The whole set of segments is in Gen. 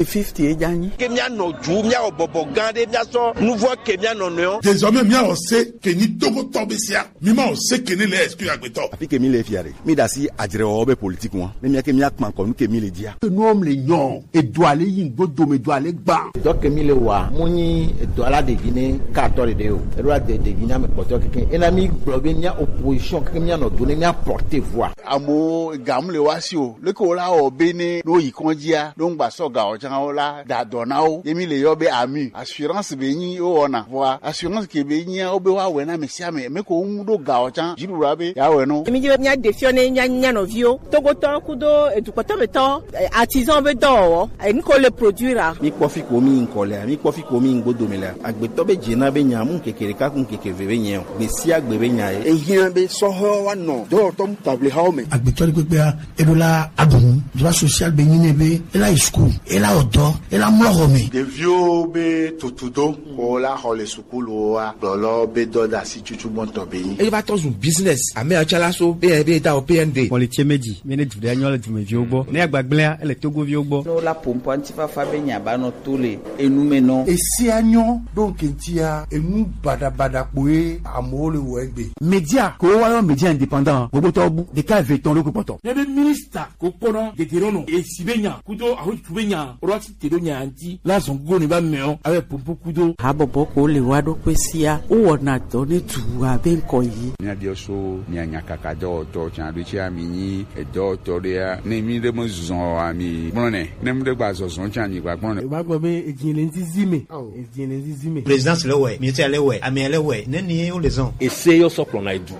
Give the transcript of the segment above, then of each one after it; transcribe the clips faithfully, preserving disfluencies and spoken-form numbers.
Fifty e ja nyi. Ke mía nɔ ju, mía wɔ bɔbɔ gã ɖe, mía sɔ nuvɔ ke mía nɔ nɔewo. Désormais, mía wɔ se ke nyi Togotɔ be sia. Mi ma wɔ se ke ne le exclu agbetɔ. Afi ke mi le fia ɖe, mi ɖe asi adzrewɔwɔ be politique ŋua. Ne mía ke mía kpan kɔ nu ke mi le dzia. Nuwo mle nyɔ, edo ale yi ŋgbo dome do ale gba. Dɔ ke mi le wa, mu nyi edo ala ɖe vi ne ka tɔ ɖe ɖe o. Eɖo la de ɖe vi na me kpɔtɔ keke. Ena mi gblɔ be mía opposition keke mía nɔ do ne mía porter voix. Amewo ga mu le wa si o. Leke wo la wɔ be ne, ne wo yi kɔndzia, ne wo ŋgba sɔ ga o tsã wo la, da dɔ na wo. Ye mi le yɔ be ami. Assurance be nyi wo wɔna. Vɔa, assurance ke be nyia, wo be wa wɛ na ame sia ame. Me ko ŋu ɖo ga o tsã, dziɖuɖua be ya wɛ no. Mi dzi be mía ɖe fiɔ ne mía, mía nɔviwo. Togotɔ kudo edukpɔtɔ be tɔ, eh, artisan be dɔwɔwɔ. Eh, nu ko le produire a. Mi kpɔ fi ko mi ŋkɔ lea, mi kpɔ fi ko mi ŋgbo dome lea. Agbetɔ be dze na be nya mu keke ɖeka ku keke ve be nyɛ o. Gbe sia gbe be nya ye. Ehiã be sɔhɛwo wa nɔ dɔwɔtɔ mu tablexawo me. Agbetɔ ɖe kpekpea, eɖo la aɖu nu. Droit social be nyi nɛ be, ela yi school, ela wɔ dɔ, ela mlɔ xɔ me. Ɖeviwo be tutudo, ko la xɔ le sukuluwoa, gblɔlɔ be dɔdasi tutu gbɔntɔ be nyi. Eva tɔ zu business, ame atsala so, be, be da o P N D. Kpɔli tse meji, mi ne du ɖe anyɔ le dumeviwo gbɔ. Ne agbagblẽa, ele Togoviwo gbɔ. No la pompo antifafa be nya ba nɔ to le enu me nɔ. Esia nyɔ ɖo ŋkɛntia enu baɖabaɖa kpoe amewo le wɔ egbe. Média ko wa yɔ média indépendant, gbogbo tɔ bu ɖeka eve tɔn ɖo kpɔtɔ. Ne be minista ko kpɔna dedero nɔ esi be nya kudo ahotu be nya rɔ ti te ɖo nya ŋti la zɔn go ne ba mɛ o abe pompo kudo. Habɔbɔ ko le wa ɖo kpe sia, wo wɔna dɔ ne du abe ŋkɔ yi. Mía biɔ so mía nya kaka dɔwɔtɔ tsa ɖo tsi ami nyi edɔwɔtɔ ɖea, ne mi ɖe me zɔn o ami gblɔ nɛ, ne mi ɖe gba zɔzɔn tsa mi gba gblɔ nɛ. Ba gbɔ be edzi le ŋzizi me. Edzi le ŋzizi me. Présidence le wɛ, ministère le wɛ, amea le wɛ, ne ni ye wo le zɔn. Ese yɔ sɔ kplɔna edu.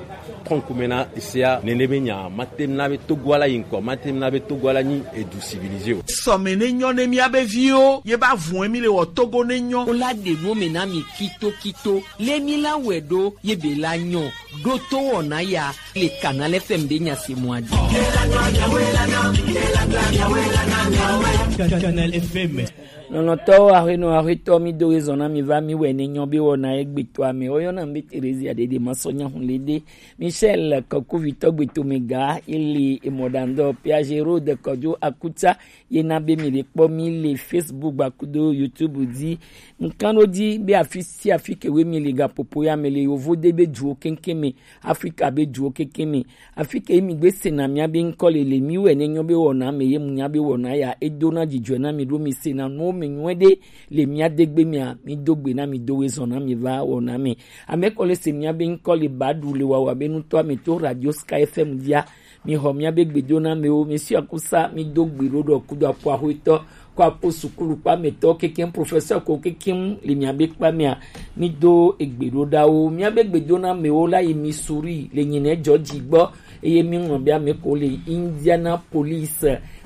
Kɔnkume na esea nene be nya, mate na be Togo ala yi ŋkɔ, mate na be Togo ala nyi edu civilisé o. Sɔme ne nyɔ ne mía be viwo, ye ba vun emi le wɔ Togo ne nyɔ. Wo la ɖe nu me na mi kito kito, le mi la wɛ ɖo, ye be la nyɔ. Ɖo to wɔna ya, le Canal F M be nya se mɔ adi. Canal F M. Lɔlɔ̃tɔwo, aƒenɔ, aƒetɔ, mi do ɣezɔ na mi va mi wɛ ne nyɔ be wɔna egbe tɔ ame. Woyɔna be Theresia Dede Masɔnya Hunlede, Michel Kɔkuvitɔ Gbetomega, Eli Emɔdandɔ, Piaget Road Kɔdzo Akuta, ye na be mi le kpɔ mi le Facebook gbakudo YouTube dzi. Ŋkan ɖo dzi be afi sia afi ke we mi le gaƒoƒo ya me le yovo de be duwo keŋkeŋ me, Afrika be duwo keŋkeŋ me. Afi ke mi gbe sena mía be ŋkɔ le le mi wɛ ne nyɔ be wɔna me ye mu nya be wɔna ya edo na dzidzɔe na mi ɖo mi sena nuwo me nyuie ɖe le mía degbe mea mi do gbe na mi do we zɔn na mi va wɔna me. Ame kɔ le se mía be ŋkɔ le ba ɖu le wawa be nutɔ ame to Radio Sky F M dia. Mi xɔ mía be gbedonamewo, mi si akusa, mi do gbe ɖo ɖɔ kudo akpo axwetɔ, ko akpo sukulu kpa me tɔ kekeŋ, professeur ko kekeŋ le mía be kpa mea, mi do egbe ɖo ɖawo. Mía be gbedonamewo la yi Missouri le nyinɛ Georgie gbɔ, eye mi ŋlɔ be ame ko le Indianapolis,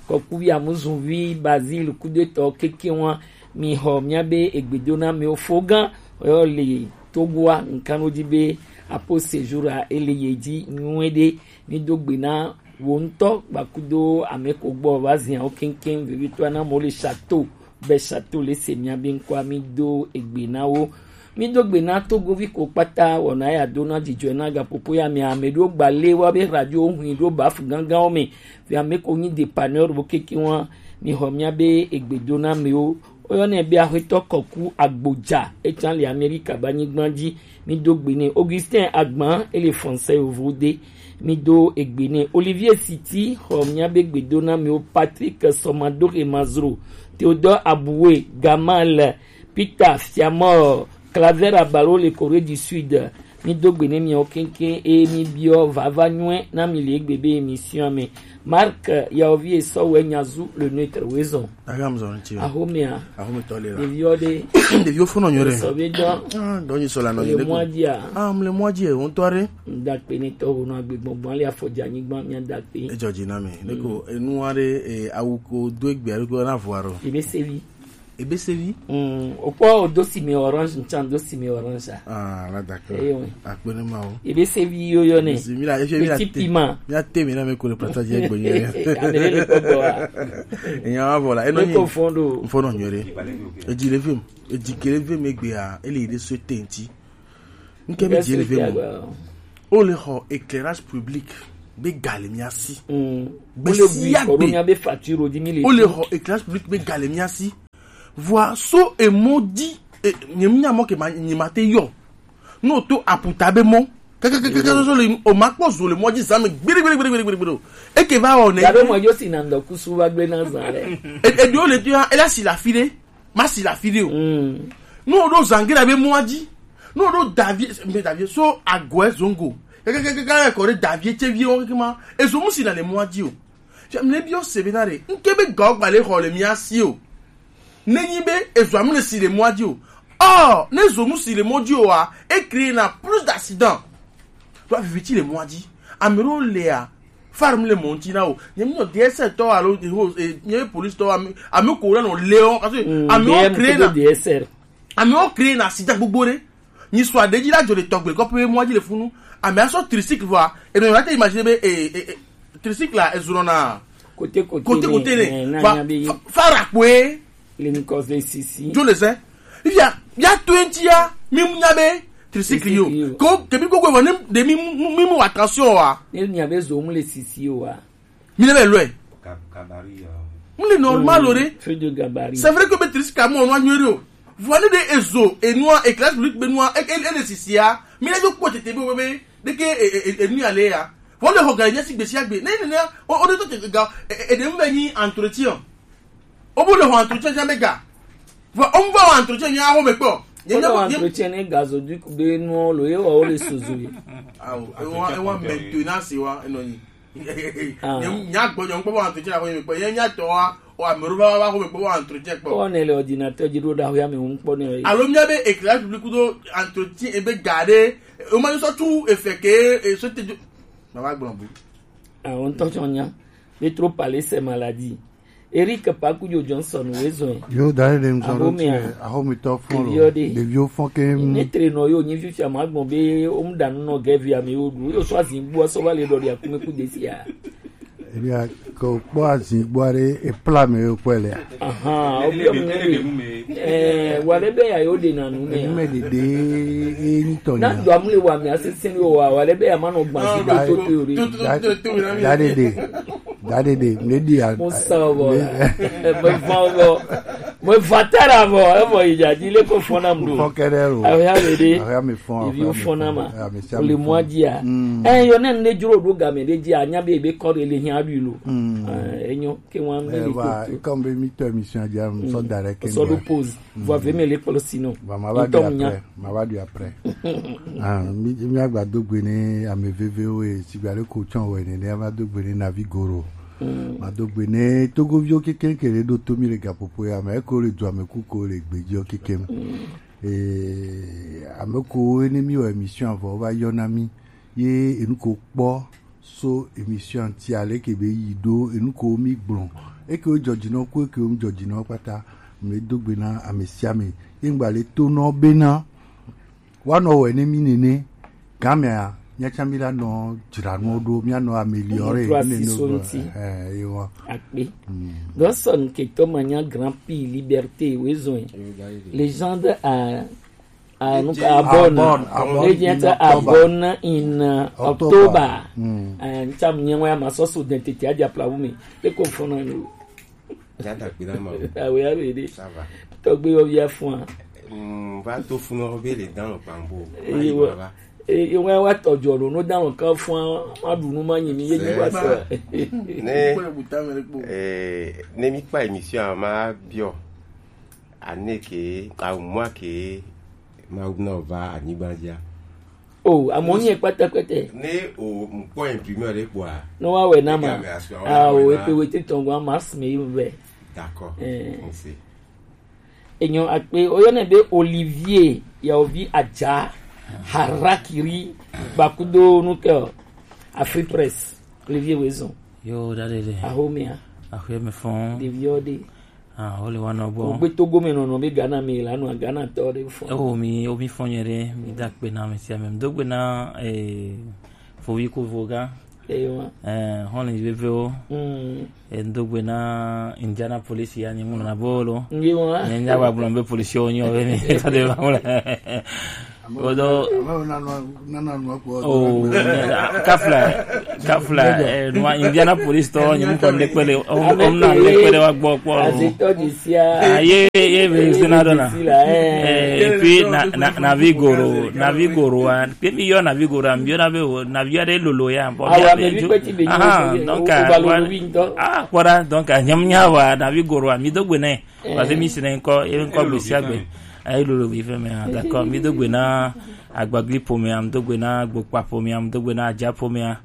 kɔkuvi Amuzuvi, Basil kudo etɔ kekeŋ wa, mi xɔ mía be egbedonamewo fo gã, yɔ le Togoa, ŋkan ɖo dzi be apo séjour a ele ye dzi nyuie ɖe. Mi do gbe na wo ŋutɔ gbakudo ame ko gbɔ va zia wo keŋkeŋ vevitɔ na mo le château be château le se mia be ŋkɔa mi do egbe na wo. Mi do gbe na Togovi ko kpata wɔna ya do na dzidzɔe na gaƒoƒo ya me ame ɖo gba le wa be radio hui ɖo baf ganganwo me. Via me ko nyi dépanneur bo kekeŋ wa mi xɔ mia be egbe do na amewo. Woyɔnɛ be Axwetɔ Kɔku Agbodza, etsã le Amerika be anyigba dzi. Mi do gbe nɛ. Augustin Agban, ele français yovo de. Mi do egbe nɛ. Olivier Siti, xɔ mia be gbedonamewo. Patrick Sɔmadoxe Mazro, Theodore Aboué, Gamal, Peter Fiamor, Claver Abalo le Corée du Sud. Mi do gbe nɛ miawo keŋkeŋ eye mi biɔ vava nyuie na mi le egbe be émission me. Marc Yaovi Esɔwɛ Nyazu le neutre wezɔn. Aga mzɔ ŋuti o. Axomea. Axometɔ le la. Ɖeviwo ɖe. Ɖeviwo fɔnɔ nyuie ɖe. Sɔ be dɔ. Ah, dɔ nyi sɔ la nɔ nyi ɖe ko. Le mɔa dzia? Ah, mle mɔa dzi o, ŋutɔ ɖe. Ŋda kpe ne tɔ ho nɔ agbe gbɔngbɔn le afɔ dze anyigba mia da kpe. Edzɔ dzi na mi. Ne ko enu aɖe, eh, awu ko do egbe aɖe ko na vɔ aɖo. Ebe sevi. Ebe sevi? Mm, okpɔ odo sime orange, ntsan do sime orange a. Ah, la d'accord. Eyo. Akpe ne ma o. Ebe sevi yo yo ne. Petit piment. Mi la te mi na me ko le plata je gbe ye. Amele ko bo a. Enya wa vola. Eno ni. Ko fondo. Fondo nyore. Eji le film. Eji kele film egbe a, ele de so tenti. Nke mi je le film. O le xɔ éclairage public. be ga le mía si. Mm. Gbe Wole sia bui kɔ ɖo gbe. Míabe facture di mi le Wole tu. Xɔ éclairage public be ga le mía si. Vɔa so emɔ di, e, nye mi nya mɔ ke ma, nye ma te yɔ. No to aputa be mɔ. Kaka kaka kaka so le o ma kpɔ zo le mɔ di zame gbere gbere gbere gbere gbere. Eke va o ne. Gabe mɔ yo si na ndo kusu va gbe na zan le. E, e di o le tu ya, e la si la fi de. Ma si la fi de o. Mm. No do zangera be mɔ di. No do davie, be davie so agoe zongo. Kaka kaka kaka ko de davie che vi o kaka ma. E zo mu si na le mɔ di o. Fia mle bi o se be na re. Nke be ga o gba le xɔ le mía si o. Ne nyi be ezo amle si le mɔ di o. Oh, ne zo mu si le mɔ di o a, e créer na plus d'accident. To a viviti le mɔ di. Amero le a. Farm le mɔ ti na o. Nye mi no D S L tɔ alo, eh, nye police tɔ ame, ame ko na no le o. Parce que Mm, ame o D M créer ko na D S L. Ame o créer na accident gbogbo re. Nyi sɔ aɖe dzi la dzo le tɔgbe kɔƒe mɔa dzi le funu. Ame asɔ tricycle vɔa. Eno la te imagine be, eh, eh, eh, tricycle la ezɔna Kote kote kote ne, kote ne. Eh, na Fa, nya be fa, fara kpoe. Le nkɔ ze sisi. Dzo le zɛ. Ifia, ya to ŋuti ya, mi nya be tricycle yo. Tricycle yo. Ko, ke mi ko ko vɔ ne de mi, mi, mi mu attention wa. Ne nya be zo mu le sisi wa. Mi ne be lɔe. Gab-, gabarit, euh. Mu le normal o de. Feu de gabarit. C'est vrai que be tricycle mo no anyo o. Vɔ ne de ezo, enua, éclairage public be nua, e, e, e le sisi ya. Mi ne do kpɔ tete be, be, be, de ke, e, e, e, enu ya le ya. Vɔ le xɔ ga nya si gbe si agbe. Ne, ne, ne, o, o de to te ga, e, e, e de mu be ni entretien. O bo le xɔ entretien ja be ga. Vɔ, o mu va xɔ entretien nya xɔ me kpɔ. Nye, nye, Wole nye, entretien ne gazoduc be nuwo lo, ye wa wo le sozo ye. Awo, e wa, e wa maintenance wa, e nɔ nyi. Ah. Nye, nya gbɔ, nye ŋkpɔ va entretien la xɔ me kpɔ. Ye nya tɔ wa, o amero va, va, va xɔ me kpɔ va entretien kpɔ. Kɔ ne le ordinateur dzi ɖo ɖa xɔ ya me ŋkpɔ ne ye. Alo mía be éclairage public do entretien e be ga ɖe, o ma sɔ tu efe ke, e sɔ te jo. Ma va gblɔ bu. Ah, on tɔ tsɔ nya. Be trop parler c'est maladie. Eric Pakujo Johnson wezɔe. Yo, da ɖe ŋutɔ ɖo Ahomea. Tie, ahomitɔ fɔn lo. Ɖeviwo ɖe. Ɖeviwo fɔn ke. Ne tre nɔ yo, nyi fifia ma gbɔn be, o mu da nu nɔ gɛvi ame wo ɖu. Yo sɔ azin gbɔ, sɔ va le ɖɔ ɖi akume ku desi ya. Ebia, ko kpɔ azin gbɔ ɖe, e pla me yo kpɔ le. Aha, o bi mu me. Eh, wa le be ya yo de na nu me. Enu me de de, e ni tɔ Na nya. Do amu le wa me asese ni o wa, wa le be ya ma nɔ gba si do to to yo de. Da, da ɖe ɖe. Da ɖe ɖe, me ɖi a. Mo sa vɔ. Me, me va vɔ. Me va tara vɔ. E vɔ yi dza dzi le ko fɔ na mu do. Fɔ kɛɖɛ lo. Awo ya me de. Awo ya me fɔ. Evi fɔ na ma. Ya me sia O le me mɔ fɔ. Dzia. Mm. Eh, yo ne ne dzro ɖo game ɖe dzia, nya be be kɔ ɖe le hiã ɖui lo. Mm. Eh, enyo ke wa me Eh, le va, to. Comme be mi to émission dzia, me sɔ da ɖe ke Sɔ ɖo ŋgɔ. Pause. Vɔ ve me le kplɔ si no. Ba ma va Ŋutɔ ɖi mu nya. Après. Ma va ɖi après. Ah, mi, mi agba do gbe ne ame vevewo ye, sigba le ko tsɔn wɛ ne, ne ma do gbe ne Navi Goro. Mm. Ma do gbe ne Togoviwo kekeŋ ke le ɖo to mi le gaƒoƒo ya me, eko le du ame kuko le gbejiwo kekeŋ. Mm. Eh, ame ko ne mi wɔ émission avɔ va yɔ na mi. Ye enu ko kpɔ so émission ti ale ke be yi ɖo enu ko mi gblɔ. Eke wo jɔjinɔ ko eke wo mi jɔjinɔ kpata. Me do gbe na ame sia ame. Ye ŋgba le to nɔ bena. Wa nɔ wɛ ne mi nene. Gamea, mía tsã mi la nɔ dzra nuwo ɖo, mía nɔ améliorer Mía trɔ asi nene so ɖo. Ŋuti. Eh, ye wa. Akpe. Mm. Godson Ketoma nya Grand Prix Liberté, wezɔe. Légende à Ah, donc, Abon. Abon, Abon Legend in Abon in October. October. Mm. Eh, ntsam nye wa ma so so identité a dia plawu mi. E ko fo na ni. Jata kpi na ma. Ah oui, ah oui, oui. Ça va. Tɔgbe yo via fun. Mm, va to fun o be le dan lo pambo. Eh, wa. Eh, wa wa tɔjɔ lo no dan lo kan fun. Ma du nu ma nyi mi ye ni wa so. Ne. Eh, ne mi pa émission a ma bio. Ane ke, awu mwa ke, Mawu na va anyigba dzia. O, amewo nye kpɛtɛkpɛtɛ. Ne o ŋkpɔ imprimeur ɖe kpɔa. Ne woawɔe na ma. Ame asɔ, ah, o, woawɔe na. Epe wete tɔn gɔn, ma sime yi vɛ. D'accord. Eh. On sait. Enyo akpe, oyɔnɛ be Olivier, yawovi Adja, Harakiri, Bakudo, nukɛ, Afri Press, Olivier Wezon. Yo, da ɖe ɖe. Ahomea. Aƒe me fɔn. Ɖeviwo ɖe. Ah, wole wa nɔ gbɔ. Wogbe Togo me nɔnɔ be Ghana me la nɔ Ghana tɔ ɖe fɔ. Ewo mi, wo mi fɔ nyuie ɖe, mi da akpe na ame sia ame. Mi do gbe na, eh, fovi ko voga. Ewa. Eh, hɔn le vevewo. Mm. Eh, mi do gbe na Indianapolis ya ni mu na bolo. Nge wa. Ni nya wa gblɔ be polisi wo nyo be mi. Fa de ba wole. Odo. Nana nua kpɔ. Oh, kafla, kafla. Eh, nua Indianapolis tɔ, nyi mukɔ ndekpele, om, om na ndekpele wa gbɔ kpɔ. Azitɔ di sia. Ah, ye, ye be zina dona. Eh, et puis na, na, Navigoro, Navigoro wa. Pe mi yɔ Navigoro, mi yɔ na be o, Navi ya de lolo ya. Bon, awa mi bi pe ti be. Ah, donc, ah, voilà. Ah, voilà, donc, ah, nyam nya wa Navigoro wa, mi do gbene. Parce que mi sene nkɔ, e nkɔ gbe sia gbe. Ayi lolo bi fɛ mɛ, ah, d'accord. Mi do gbe na Agbagli pomɛa, mi do gbe na Gbokpa pomɛa, mi do gbe na Aja pomɛa.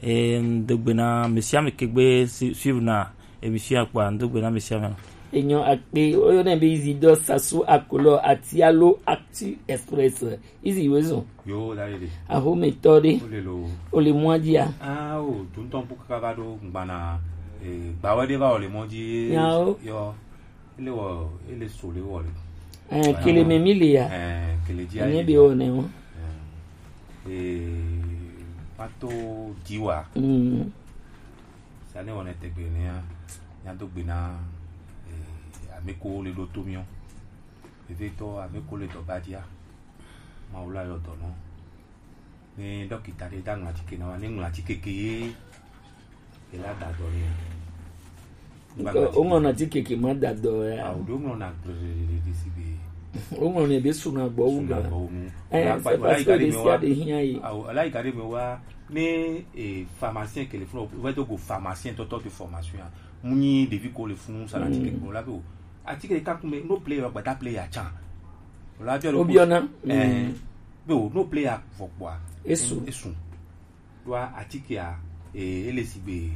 E mi do gbe na mesi ame kegbe si-, suivre na émission kpa, mi do gbe na mesi ame. Enyo akpe, oyo ne be Isidore Sassou Akolo ati alo Actu Express. Izi wezo. Yo, da de. Aho me to de. O le lo. O le mwa dia. Ah, o, tun ton bu kaka ba do ngbana. Eh, gba we de ba o le mwa di. Ya o. Yo. Ele wɔ, ele so le wɔ le. Eh, kele me mi le ya. Eh, kele dia. Ne bi o ne o. Eh, pato diwa. Mm. Sa ne wɔ ne tegbe ne ya. Ya do gbe na, eh, ameko le do to mi o. Veve to ameko le do ba dia. Ma o la yo do no. Ne dɔkita ɖe da ŋlɔ atike na wa, ne ŋlɔ atike ke ye, ye la da dɔ ne. Ŋkɔ, o ŋlɔ na atike ke ma da dɔ ya. Awo ɖo ŋlɔ na gblɛlɛlɛ si be. O ŋlɔ ne be suna gbɔ wu na. Suna gbɔ wu nu. Eh, c'est parce que le sia de hia ye. Awo, ala yi ka ɖe me wa, ne, eh, pharmacien ke le funu, o va do go pharmacien tɔtɔ de formation ya. Mu nyi ɖevi ko le funu sa na atike ko la be o. Atike ɖeka ku me, no play ya, gbata play ya tsan. O la biɔ ɖo. O biɔ na. Eh, be o, no play ya vɔ kpɔa. Esu. Esu. Ɖoa atikea, e, ele sigbe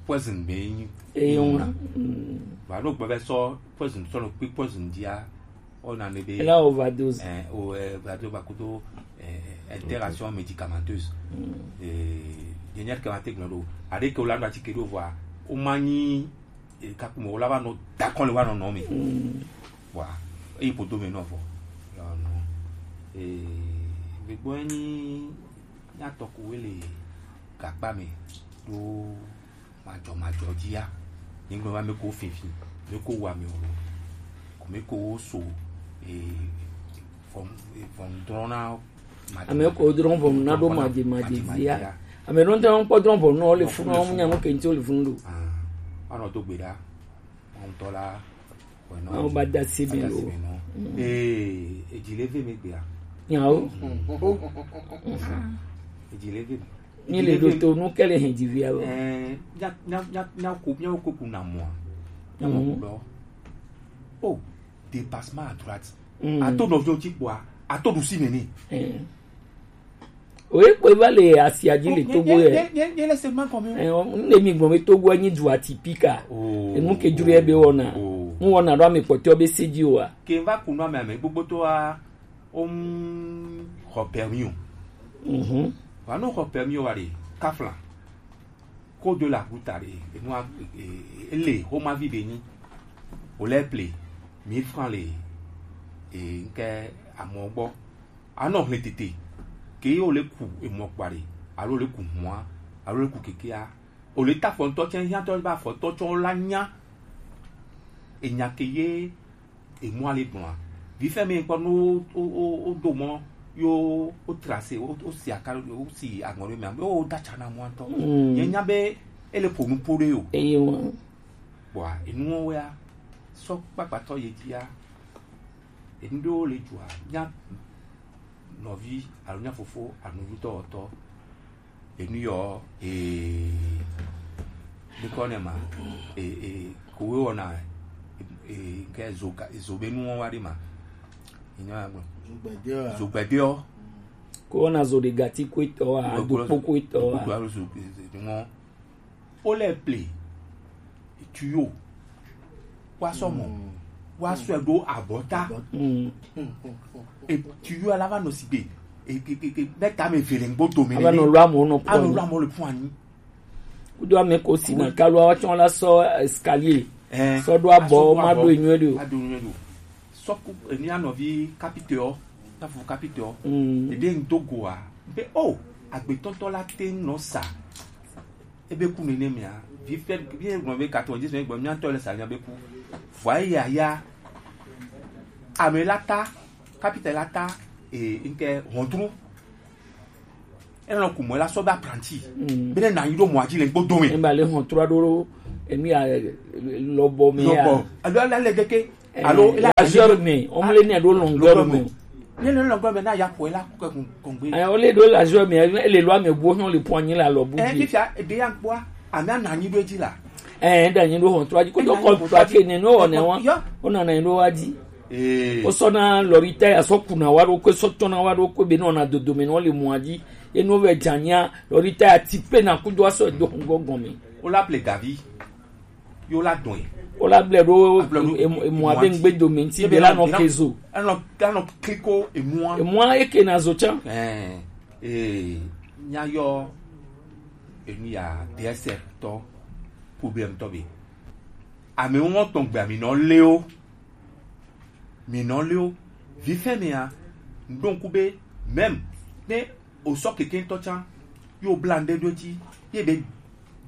poison be nyi. Eye ŋu. Vɔ, aɖo gbɔ be sɔ poison sɔ nɔ kpi poison dia, o na ne be. Ela overdose. Eh, o, eh, overdose ba kudo, eh, interaction médicamenteuse. Eh, dernière que ma te gblɔ ɖo. Aɖe ke o la nɔ atike ɖo vɔa, o ma nyi, eh, kaku me o la va nɔ dakɔ le wa nɔ nɔ me. Vɔa, eyi podo me nɔ vɔ. Yɔ nɔ. Eh, me gbɔ nyi Mía tɔ koe le gakpa me ɖo majɔmajɔ dzi ya. Nyigblɔ be ame ko finfin, ame ko wa mi o, ko ame ko so, e, vɔn, e, vɔn drɔ̃ na madze-, ame ko drɔ̃ vɔn na ɖo madze-, madze-, madze-, madze-, dzi ya. Ame ɖewo ŋutɔ kpɔ drɔ̃ vɔn na wo le funu, wo nya nu ke ŋuti wo le funu ɖo. Ah, anɔ do gbe ɖa. Ŋutɔ la, wònɔ. Awo ba da si mi lo. Ee, edzi le ve mi gbea. Nyawo. Edzi le ve mi. Mi le ɖo to nu ke le hɛn dzi via lo. Ɛɛ, nya, nya, nya, nya ko, nya ko ku na mɔa. Nya mɔ ku lɔ. Oh, dépassement à droite. Mm. Ato nɔviwo dzi kpɔa, ato ɖusi me nɛ. Mm. Oye kpɔe va le asia dzi le Togo ye. Nye, nye, nye, nye le segment kɔmi. Eh, ne mi gblɔ be Togo nyi du atipika. Oh. Enu ke dzro ye be wɔna. Oh. Nu wɔna ɖo ame kpɔtɔ be se dzi oa. Ke va ku nu ame ame gbogbo to a, om, xɔ permis o. Mhm. Va no xɔ permis o wa de, kafla. Code de la route aɖe, enua, e, e, ele xomavi be nyi. Wòle ple mille francs le, e, ŋke amɔ gbɔ. Anɔ hlẽ tete. Ke ye wòle ku emɔ kpa ɖe, alo wòle ku hũa, alo wòle ku kekea. Wòle ta afɔntɔ tsɛ, hiãtɔ be afɔntɔ tsɔ la nya. Enya ke ye emɔa le gblɔa. Vifɛ mi kpɔ no o, o, o, o do mɔ yo o trase, o, o si aka, o si aŋɔ ɖe mea, o da tsa na mɔa ŋutɔ. Mm. Ye nya be ele ƒo nu ƒo ɖe o. Eye wa. Bɔa, enuwo ya, sɔ kpakpatɔ ye dzia, enu ɖewo le dzɔa, nya nɔvi alo nya fofo alo nɔvi tɔwɔtɔ. Enu yɔ, ee, dukɔ ne ma, ee, ee, kowe wɔna, ee, ke zo ka, zo be nuwo wa ɖe ma. Enya gblɔ. Zogbɛdeɔ. Zogbɛdeɔ. Ko wɔna zo ɖe gati ko etɔ wa, dokpo ko etɔ wa. Dokpo alo zo, ee, nuwo. Wole ple tuyau, woasɔ mɔ, woasɔe ɖo abɔta. Mm. E tuyau la va nɔ sigbe, e, e, e, e, be tame eve le ŋgbo dome. Ava nɔ lo amewo nɔ kpɔ anyi. Anɔ lo amewo le ƒu anyi. Kudo ame ko si na kalo wa tsɔ la sɔ escalier. Eh, sɔ ɖo abɔ, asɔ ɖo ma abɔ, ɖo enyuie ɖo. Aɖo enyuie ɖo. Sɔ ku, e, mía nɔvi kapitɛɔ, tafu kapitɛɔ. Mm. Ede ŋdo goa, be, o, agbetɔtɔ la te nɔ sa. Ebe ku nene mea, vi fɛ, vi gblɔ be quatre-vingt-dix, mais gblɔ mía tɔ le sa mía be ku. Vɔa ya ya, ame la ta, kapitɛ la ta, e nke hontru. E nɔ kumɔ la sɔ be apprenti. Mm. Be ne na nyi ɖo mɔ adzi le gbɔdo me. E ba le hontru aɖo emi a lɔbɔ me ya. Lɔbɔ. Alo ala le geke. Alo la azor me, on le ne ɖo lɔngɔ me. Ne le lɔngɔ me na ya ko la ko ko ngbe. Eh, on le ɖo la azor me, e le lɔ me bo hɔn le point nyi la lɔ bu. Eh, fifia e be ya kpɔa. Ami ana nyi ɖo edzi la. Eh, da nyi ɖo hontru adzi ko do contrat ke ne no ne wa. Ona na nyi ɖo adzi. Ee. Wosɔna lɔri taya sɔ kuna wa ɖo koe, sɔ tɔna wa ɖo koe be nɔ na dodo me nɔ le mɔa dzi. Enu vɛ dzanya lɔri taya ti pe na kudo asɔ do ŋgɔ gɔme. Wola ple gavi. Yo la dɔn ye. Wola ble ɖo emɔa be ŋgbe dome ŋti be la nɔ kezo. Anɔ anɔ kliko emua. Emua eke na zo tsa. Ɛɛ ee nya yɔ enu ya D S R tɔ problème tɔ be. Ame ŋɔ tɔn gbe ami nɔ leo. Mi nɔ leo. Vifɛ mea, ŋɖo ŋku be même ne o sɔ keke ŋtɔ tsa, yo bla ŋɖe ɖo dzi, ye be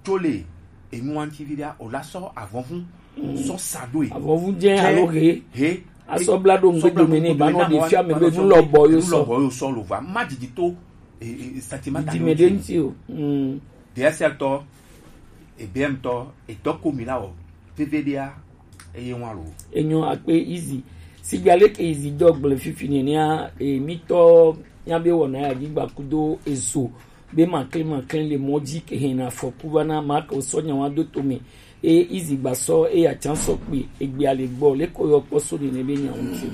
dzo le enu wa ŋti vi ɖea, o la sɔ avɔvu sɔ sa ɖo e. Avɔvu dze alo he. He. Asɔ bla ɖo ŋgbe dome ne ba nɔ ɖe fia me be nu lɔ bɔ yo sɔ. Nu lɔ bɔ yo sɔ lo va. Ma didi to e, e, e, sentiment didi me ɖe ŋti o. Mm. D S L tɔ, e B M tɔ, e dɔ ko mi la o. Veve ɖea, eye ŋua lo. Enyo akpe Easy. Sigba leke Easy dɔ gblẽ fifi nɛnɛa, e, mitɔ nya be wɔna ya dzi gba kudo ezo be makle makle le mɔ dzi ke hena afɔku va na ma ke sɔ nya wa do to me. E Easy gba sɔ e ya tsan sɔ kpe egbe ale gbɔ le ko yɔ kpɔ so nene be nya ŋti.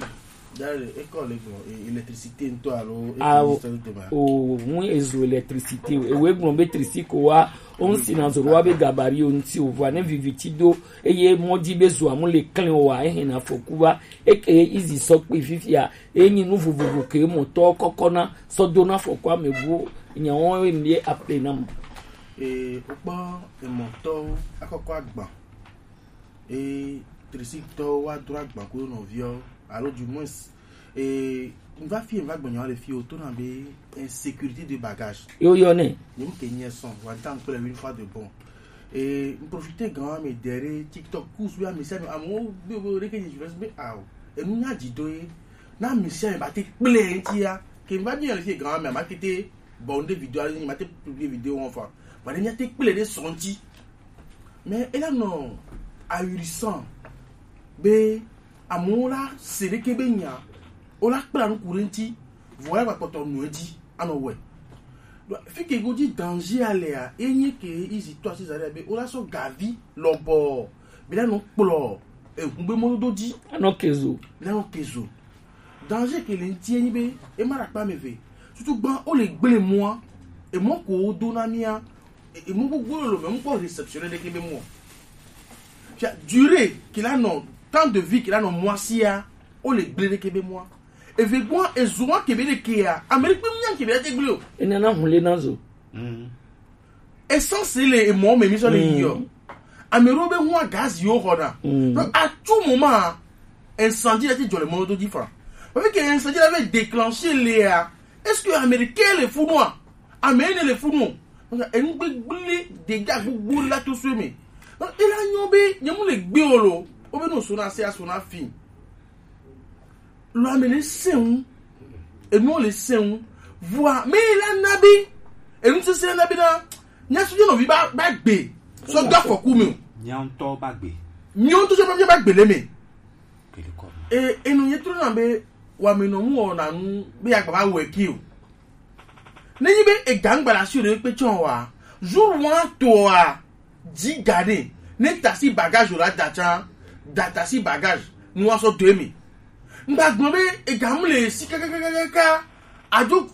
Dale, ekɔ le gbɔ, e, électricité ŋtɔ alo Awo, électricité ŋtɔ ma? O, ŋu ezo électricité o. Ewe gblɔ be trisi ko wa, o ŋsi na zoro wa be gabari o ŋti o vɔ ne viviti do eye mɔdzi be zo amu le klɛn o wa ehe na afɔku va eke Easy sɔ kpe fifia enyi nu vovovo ke mɔtɔ kɔkɔ na sɔ do na afɔku ame bu nyawo ye mi appelé na mo. E, o kpɔ emɔtɔ akɔkɔ agba. E trisikitɔwo wa dro agba kple nɔviawo alo du moins e n va fi n va gbɔnyɔ le fi o to na be insécurité de bagage. Yo yo ne. Nyem ke nye sɔn wa ta n kple une fois de bon. E n profiter gan wa me dere TikTok kus wa me sa me amewo be be ɖeke nye jure be ao enu nya dzi do ye na me sa me ba te kple ŋtia ke n va bi le fi gan wa me ma kete. Bon, des vidéos, il m'a été publié vidéo enfin. Voilà, il m'a été plein de senti. Mais elle a non ahurissant. Be amola sere ke be nya. Ola kpla nu kurenti. Voilà va poto nu edi. Ano we. Fi ke go di danger ale a. Enye ke izi to asi zare be ola so gavi lobo. Be la no kplo. E gbe mo do di. Ano kezo. Be la no kezo. Danger ke le ŋti ye nyi be ema ɖe akpa ame eve. Tutu gbã wo le gble mɔa, emɔ ko wo do na mía, e- emɔ gbogbo lolo me ŋkpɔ réceptionné ɖeke be mɔ. Fia durée ke la nɔ temps de vie ke la nɔ mɔa sia, wo le gble ɖeke be mɔa. Eve gbɔa ezo wa ke be ɖekea, ame ɖekpe mía ke be ɖe gble o. Ene na hun le na zo. Essence le emɔ me mi sɔ le yi yɔ. Ame ɖewo be ŋua gaz yiwo xɔna. Donc à tout moment, incendie la ti dzɔ le mɔdodo dzi fa. Parce que incendie la va déclencher lea, est-ce que Américain le fu nua? Ame ne le fu nu. Donc enu gbegble dégâts gbogbo la to so me. Donc il a nyo be nyemu le gbe o lo. O be no sona se asona fin. Lɔ ame le sɛn ŋu. Enuwo le sɛn ŋu. Vɔa me la na be enu sese la na be na mía sɔ nɔvi ba ba gbe sɔ do afɔku me o. Mía ŋutɔ ba gbe. Mía ŋutɔ sɔ ba gbe le me. Kele kɔ. E enu ye trɔ na be wa me nɔ mu wɔ na nu be agba ba wɛ ki o. Ne nyi be ega ŋgba le asi ɖe kpe tsɔ wa, jour wa to wa, dzi ga ɖe, ne tasi bagage la da tsa, da tasi bagage, nu wa sɔ do emi. Ŋgba gbɔ be ega mu le si kakakakaka, ado,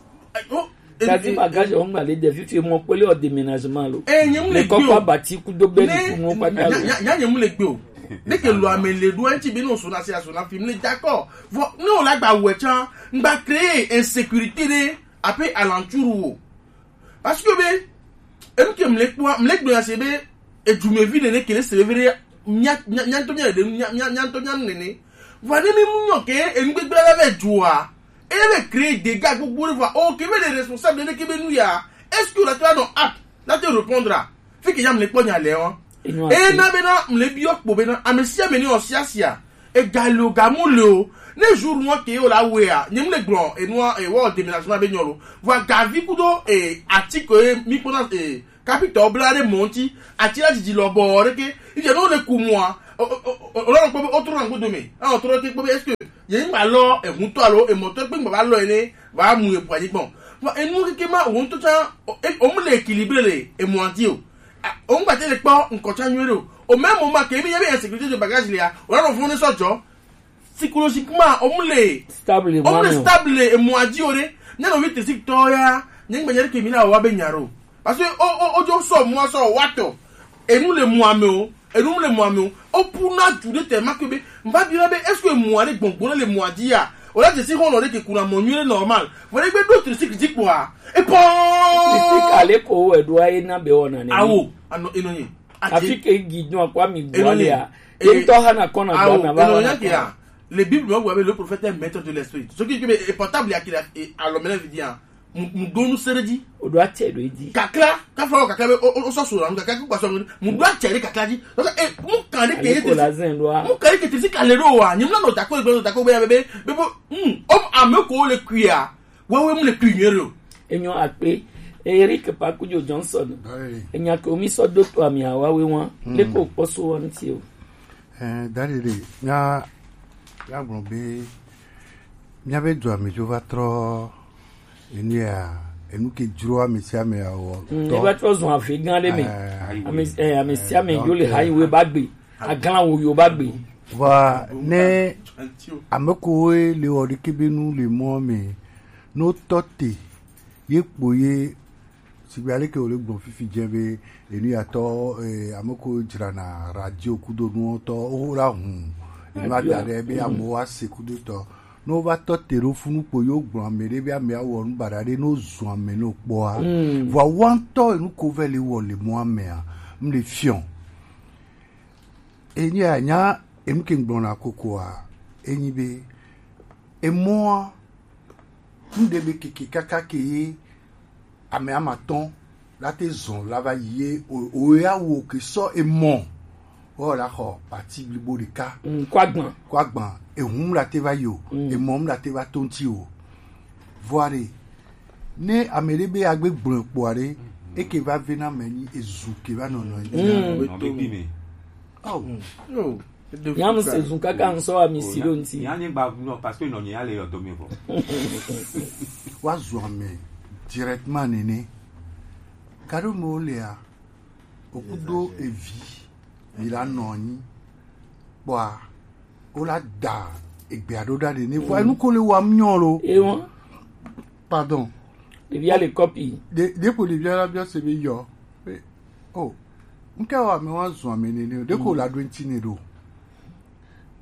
o, e- Tasi e- bagage o ŋgba le de fifi mo kpele o déménagement lo. E, nye mu le Le kɔkɔ gbe o. Abati kudo be Ne- ni kunu kpata lo. Nya- nya- nya nye mu le gbe o. Ne ke lo ame le ɖo eŋti be ne o sona se asona fi mu le d'accord. Vɔ ne o la gba wɛ tsa, ŋgba créer insécurité ɖe ape alentour wo. Parce que be enu ke mle kpɔa mle gblɔ ya se be edumevi nene ke le se vevie ɖe mía mía mía ŋutɔ mía ɖe mía mía mía ŋutɔ mía nu nene. Vɔ ne mi mu nyɔ ke enu gbegblẽ la va dzoa eye be créer dégâts gbogbo ɖe vɔa o ke be le responsable nene ke be nu ya est-ce que la te va nɔ apte la te répondre a fi ke ya mle kpɔ nya le wa. Eye na be na mle biɔ kpo be na ame sia ame ne wɔ sia sia Egali o, gamu le o. Ne jour nua ke o la wea, nyem le gblɔ enua, e wɔ déménagement be nyɔ lo. Vɔ gavi kudo e ati ko e mi kpona e kapitɔ bla ɖe mɔ ŋuti, ati la didi lɔ bɔ ɖe ke. Ije no le ku mua. O o o o lɔ kpɔ be o trɔ na godo me. A o trɔ ke kpɔ be est-ce que ye ŋgba lɔ ehutɔ alo emɔtɔ kpe ŋgba va lɔ ene va mu ebu anyi gbɔn. Vɔ enu keke ma wo ŋutɔ tsa o mu le équilibré le emɔ ŋuti o. A, o ŋgba te le kpɔ ŋkɔ tsa nyuie ɖo. O même moment ke mi ye be insécurité de bagage le ya, o la nɔ fun ne sɔ jɔ. Psychologiquement, o mu le stable, o mu le stable le emɔa dzi o ɖe. Ne nɔvi tesi tɔ ya, nye ŋgbe nye ɖeke mi na wa be nya ɖo. Parce que o o o dzo sɔ mɔa sɔ wa tɔ. Enu le mɔa me o, enu le mɔa me o. O pu na du ɖe te ma ke be, n va bi na be, est-ce que emɔa ɖe gbɔngbɔn le mɔa dzi ya? O la tesi xɔ nɔ ɖe ke kuna mɔ nyuie normal. Vɔ ɖe gbe ɖo tesi dzi kpɔa. E pɔ. Tesi kale ko e ɖo aye na be o na ne. Awo, ano eno ye. Afi ke gi dun akwa mi bua le ya. Ye ŋutɔ hã nakɔ na dua me ava hã nakɔ. Le Bible me gblɔ be le prophète est maître de l'esprit. Ce qui veut dire portable ya kira alɔmɛlɛ vidi ya. Mu ɖo nu se ɖe dzi. O ɖo atse ɖo edzi. Kakla, kafa wɔ kakla be o sɔ so la nu kakla kpa sɔ mu ɖo atse ɖe kakla dzi. Donc e mu kan ɖe ke ye te. Mu kan ɖe ke te si ka le ɖo wa. Nyimla no tako gbe no tako be ya be be be bo. Hmm, o ame ko le kuia. Wawe mu le kui nyuie ɖo. Enyɔ akpe. Eric Pakujo Johnson. Enya ke mi sɔ do to ami awawe wa. Le ko kpɔ so wa ŋuti o. Eh, dadidi, mía, míagblɔ be míabe dua me dzo va trɔ enu ya, enu ke dzro ame sia ame awɔ. Mm, tɔ. Eva trɔ zɔn afi gã ɖe me. Eh, ame, eh, ame sia ame yo le ha yi wo ba gbe. Aglan wo yo ba gbe. Vɔa, ne ame kowoe le wɔ ɖeke be nu le mɔ me, no tɔ te, ye kpo ye Sigbe aleke wòle gblɔ fifi dze be enuyatɔ, eh, ame ko dzrana radio kudo nuwo tɔ wo la hũ enu ada ɖe be amewo ase kudo tɔ. Ne wova tɔ te ɖo funu kpo yewo gblɔ ame ɖe be amea wɔ nu baɖa ɖe ne wozu ame ne wokpɔa. Vɔa woa ŋutɔ enu ko vɛ le wɔ le mɔa mea, m le fiɔ. Enyi anya enu ke ŋgblɔna kokoa, enyi be emɔa, nu ɖe be keke kaka ke ye ame amatɔn la te zɔn la va yi ye o, o ya wo ke sɔ emɔ. O la xɔ pati blibo ɖeka. Mm, kɔ agban. Kɔ agban, ehun la te va yi o, mm, emɔ la te va to ŋuti o. Vɔa ɖe, ne ame ɖe be agbe gblɔe kpɔa ɖe, eke va ve na ame nyi ezu ke va nɔnɔ nyi. Mm. Nɔ be kpi me. Oh. Yo. Nyam se zun kaka ŋsɔ ami si ɖo ŋti. Nya nye gba nɔ parce que nɔ nye ale yɔ dome vɔ. Wa zu ame directement nene. Kado me wo lea, okudo evi, mi la nɔ anyi. Kpɔa, wo la da egbea ɖo ɖa ɖe ne. Vɔ enu ko le wa mnyɔ lo. Ewa. Pardon. Ɖevia le kɔpi. De, de ko ɖevia la bia se be yɔ. Oh, ŋke wa me wa zun ame nene o. De ko la ɖo ŋti ne ɖo.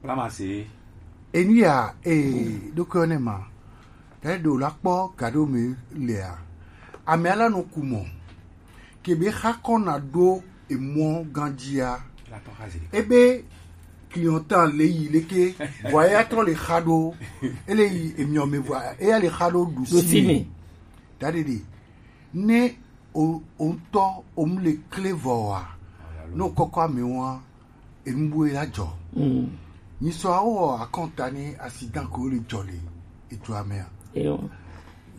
Bla ma se. Enu ya, eh, ɖo ke ne ma. Ke ɖo la kpɔ ga ɖo me lea. Ame ala no ku mɔ. Ke be xa kɔ na ɖo emɔ ganjia. Ebe clientèle le yi leke. Vɔ ya trɔ le xa ɖo. Ele yi emiɔ me vɔ. Eya le xa ɖo ɖusi me. Ɖusi me. Ɖaɖeɖe. Ne o, o ŋutɔ, o mu le kle vɔ wa, ne o kɔkɔ ame wa, enu bu la dzɔ. Mm. Nyisɔ awo akɔnta ne accident ko le dzɔ le edua mea. Eyo.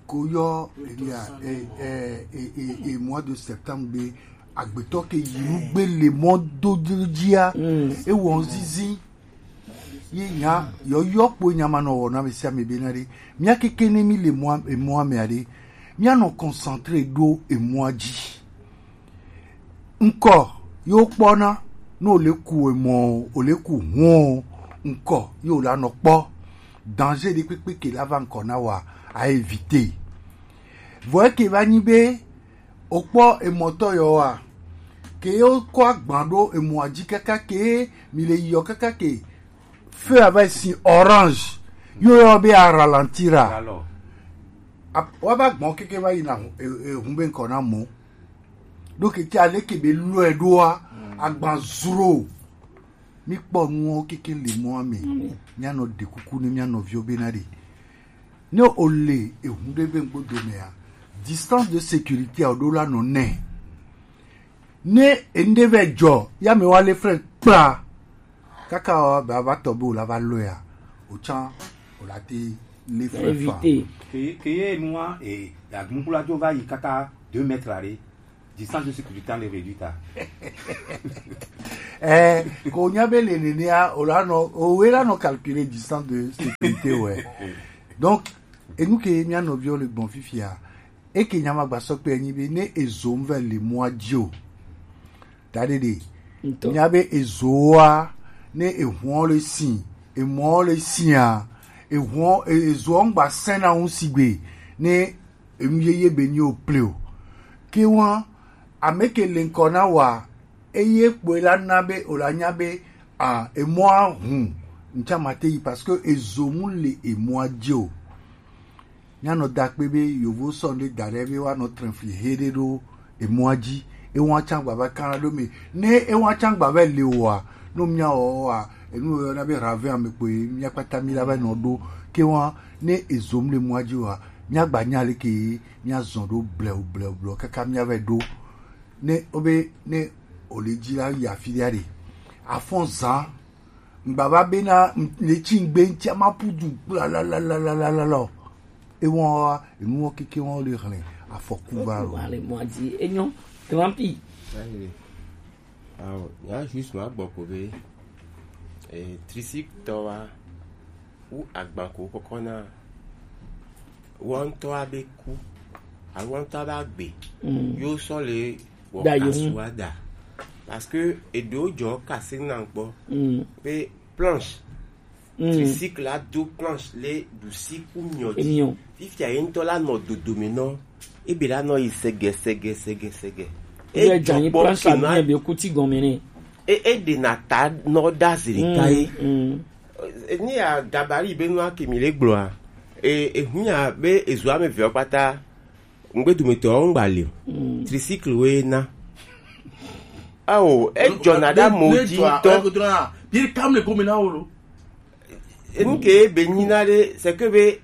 Ko yɔ, elia, e, e, e, e, e, mois de septembre be, agbetɔ ke yi nu gbe le mɔ do dzia, mm, ewɔ zizi. Ye nya, yɔyɔ kpo nya ma nɔ wɔ na ame sia ame be na ɖe. Mía keke ne mi le mɔa, emɔa mea ɖe, mía nɔ concentré ɖo emɔa dzi. Ŋkɔ ye wo kpɔna, ne o le ku emɔ o, o le ku hɔn o, ŋkɔ ye o la nɔ kpɔ. Danger ɖe kpekpe ke la va ŋkɔ na wa, a éviter. Vɔ eke va nyi be, o kpɔ emɔtɔ yɔ wa. Ke ye wo kɔ agban ɖo emɔa dzi kaka ke mi le yiyɔ kaka ke feu ava si orange. Yo yɔ be a ralentir a. Wa va gbɔn keke va yina ehun be ŋkɔ na mɔ. Ɖo keke ale ke be lɔe ɖoa, agban zro. Mi kpɔ nuwo keke le mɔa me. Mia nɔ ɖe kuku ne mia nɔviwo be na ɖe. Ne o le ehun ɖe be ŋgbo dome a, distance de sécurité a o ɖo la nɔ nɛ. Ne enu ɖe vɛ dzɔ, ya me wa le frère kpla. Kaka o ba va tɔ be o la va lɔe a, o can o la te le fle fa. Éviter. Ke ke ye nua e la gun kula jo va yi kaka deux mètres are. Distance de sécurité en réduite à. Eh, ko nya be le nene a o la no o we la no calculer distance de sécurité, ouais. Donc, enu ke mia nɔviwo le gbɔn fifia, eke nya ma gba sɔ kpe enyi be ne ezo mu vɛ le mɔa ji o. Taɖeɖe. Ŋutɔ. Mia be ezoa, ne ehuɔ le si, emɔ le sia, ehuɔ, e-, ezoa ŋgba sɛna ŋu sigbe, ne enu yeye be nyi o ple o. Ke wa, ame ke le ŋkɔ na wa, eye kpoe la na be, o la nya be, a, emɔa hun, ŋtsa ma te yi, parce que ezo mu le emɔa ji o. Mia nɔ da kpe be yovo sɔ nde da ɖe be wa nɔ trɛn fli he ɖe ɖo emɔa ji. Ewa can gba va kan ɖo me. Ne ewa can gba va le wa, no mia wɔ wa, enu yɔ na be ravin ame kpoe, mia kpata mi la va nɔ ɖo. Ke wa, ne ezo mu le mɔa ji wa, mia gba nya le ke, mia zɔn ɖo blɛo, blɛo, blɛo, kaka mia va ɖo. Ne, o be, ne, o le ji la yi afi ɖe ɖe. Afɔn zan, ŋgbava bena, ŋ-, le tsi ŋgbe ŋtsia ma pu du kpla la la la la la la la o. Ewɔn wa, enuwɔ keke wɔn le hlɛ afɔku va lo. Wa le mɔ dzi enyo, grand pi. Ayi. Awo, ya juste ma gbɔ ko be, eh, tricycle tɔ wa, wu agban ko kɔkɔ na, wɔntɔ abe ku, alo wɔntɔ abe agbe, mm, yo sɔ le wɔ da yi kasu ŋu. Ada. Parce que eɖewo jɔ kase na gbɔ, mm, be planche, mm, tricycle la do planche le ɖusi ku miɔ ji. Emiɔ. Fifia ye ŋutɔ la nɔ dodome nɔ, ebe la nɔ yi sɛgɛ, sɛgɛ, sɛgɛ, sɛgɛ. Ebe dza nyi jɔ kpɔ planche la kena mi be kuti gɔme ne. E, e ɖe na ta nɔ da zi ɖeka ye. Mm, mm. E, ni ya gabarit be nua ke mi le gblɔa, e, e hunya be ezo ame vewo kpata, ŋgbedometɔwo ŋgba li o. Mm. Tricycle woe na. Ao, ejɔna ɖe amewo dzi ŋutɔ. Bie kam le gome na wo lo. Enu ke be nyina ɖe, c'est que be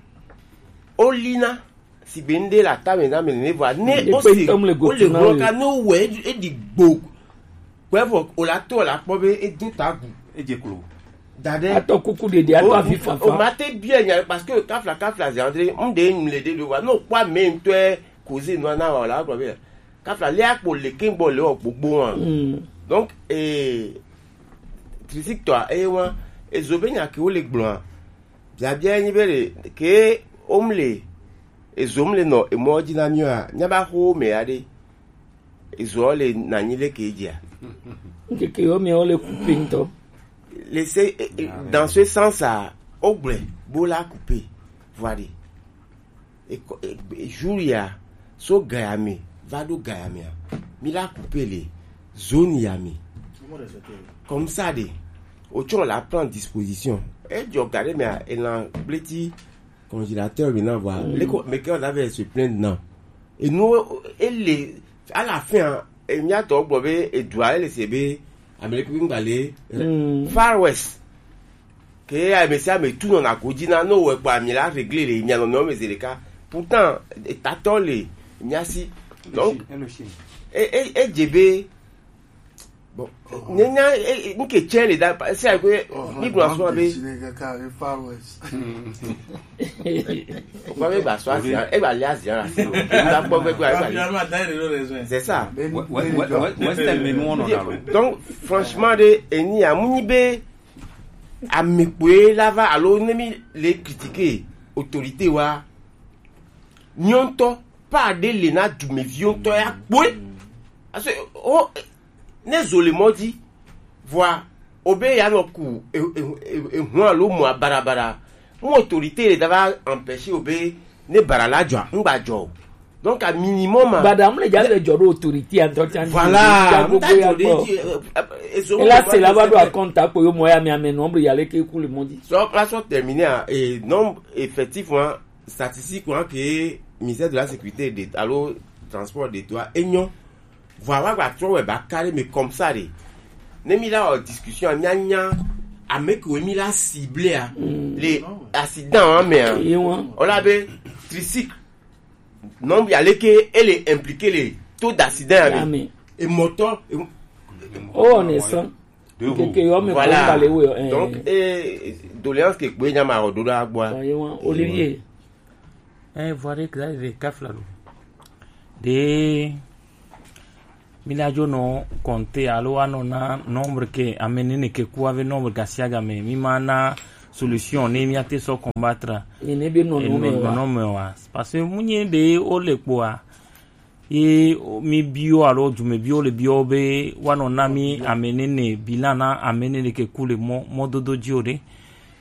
olina, sigbe ŋɖe le atame na ame nene vɔa, ne o se, o le gblɔ ka, ne o wɛ, e, e ɖi gbo. Kpɛ vɔ, o la to, o la kpɔ be e do ta gu. E dze klo. Da ɖe. Atɔ kuku ɖeɖe, atɔ avi fafa. O ma te bia nya, parce que kafla, kafla, c'est André, ŋɖe ŋu le ɖe ɖo vɔa, ne o kpɔ ame ŋutɔe, cause nua na wa, o la gblɔ be, kafla le akpo le ke gbɔ le o gbogbo wa. Mm. Donc, eh, tricycle tɔa, eye wa, ezo be nya ke wo le gblɔa, biabia nyi be ɖe, ke o mu le, ezo mu le nɔ emɔ dzi na mi wa, nya ba xo me ya ɖe, ezo le na nyi le ke dzia. Ŋkeke yo mi wo le couper ŋutɔ. Le se, eh, eh, dans ce sens a, o gblɔe, bo la couper, voilà. E kɔ, e, e, jour ya, so Gaya me, va ɖo Gaya mea, mi la couper le zone ya me. Comme ça ɖe, o tsɔ la prendre disposition. E jɔ ga ɖe mea, e na gbleti congélateur me na vɔa. Mm. Le ko, mais quand on avait se plaindre, non. Et nous, e le, à la fin, e mia tɔ gblɔ be, e dua, e le se be, Amérique bi ŋgba le, mm, Far West. Ke ame sia ame tu nɔna godzi na, ne wowɔe kpɔa, mi la régler le mia nɔnɔewo me zi ɖeka. Pourtant, etatɔ le mia si. Donc, e, e, edze be, bon, nye nya, e, e, nu ke tsɛ le da, sia ko, mi gblɔ asɔ be, o kpɔ be gba sɔ azi, e gba le azi la si o. E gba kpɔ be gba, e gba le. C'est ça. Western me nu wɔnɔ na lo. Donc, franchement, de, eni ya, mu nyi be, ame kpoe la va, alo ne mi le critiquer autorité wa, nyɔntɔ, pas de le na dumeviwo ŋutɔ ya kpoe. Parce que, o, ne zo le mɔ dzi, vɔa, o be ya nɔ ku, e, e, e, e, ehun alo mɔ barabara. Mu autorité le da va empêcher o be, ne bara la dzɔ, ŋgba dzɔ o. Donc, à minimum, a. Bada mu le dza le dzɔ ɖo autorité a ŋutɔ tsa. Voilà, ŋutɔ dzɔ ɖe dzi, eh, eh, eh, ezo ela se la va ɖo akɔnta kpo yo mɔ ya mi ame nɔ bli ya le ke ku le mɔ dzi. Sɔ kla sɔ terminer a, et non, effectivement, statistique wa ke ministère de la sécurité de, alo transport de toi, enyo. Vɔa wa gba trɔ wɛ ba carré, mais comme ça de. Ne mi la o discussion, nya nya, ame ke mi la ciblé a, mm, le accident wa me a. Ye wa. O la be, tricycle. Non, ya le ke, elle est impliquée le taux d'accident ya me. Ya me. Et moto, et, oh, on est sans. Keke yɔ mi voilà. Donc, eh, doléance ke kpe nya ma ro do la gbo. Olivier. Eh, voilà, exact, kafla lo. De mi la jo no compter alo wa no na nombre ke amenene ke ku avec nombre gasiaga me mi ma na solution ne mi ate so combattre. Ni ne bi no no me wa. Parce que munye de o le po a. Ye mi bio alo jume bio le bio be wa no na mi amenene bilan na amenene ke ku le mo mo dodo ji o de.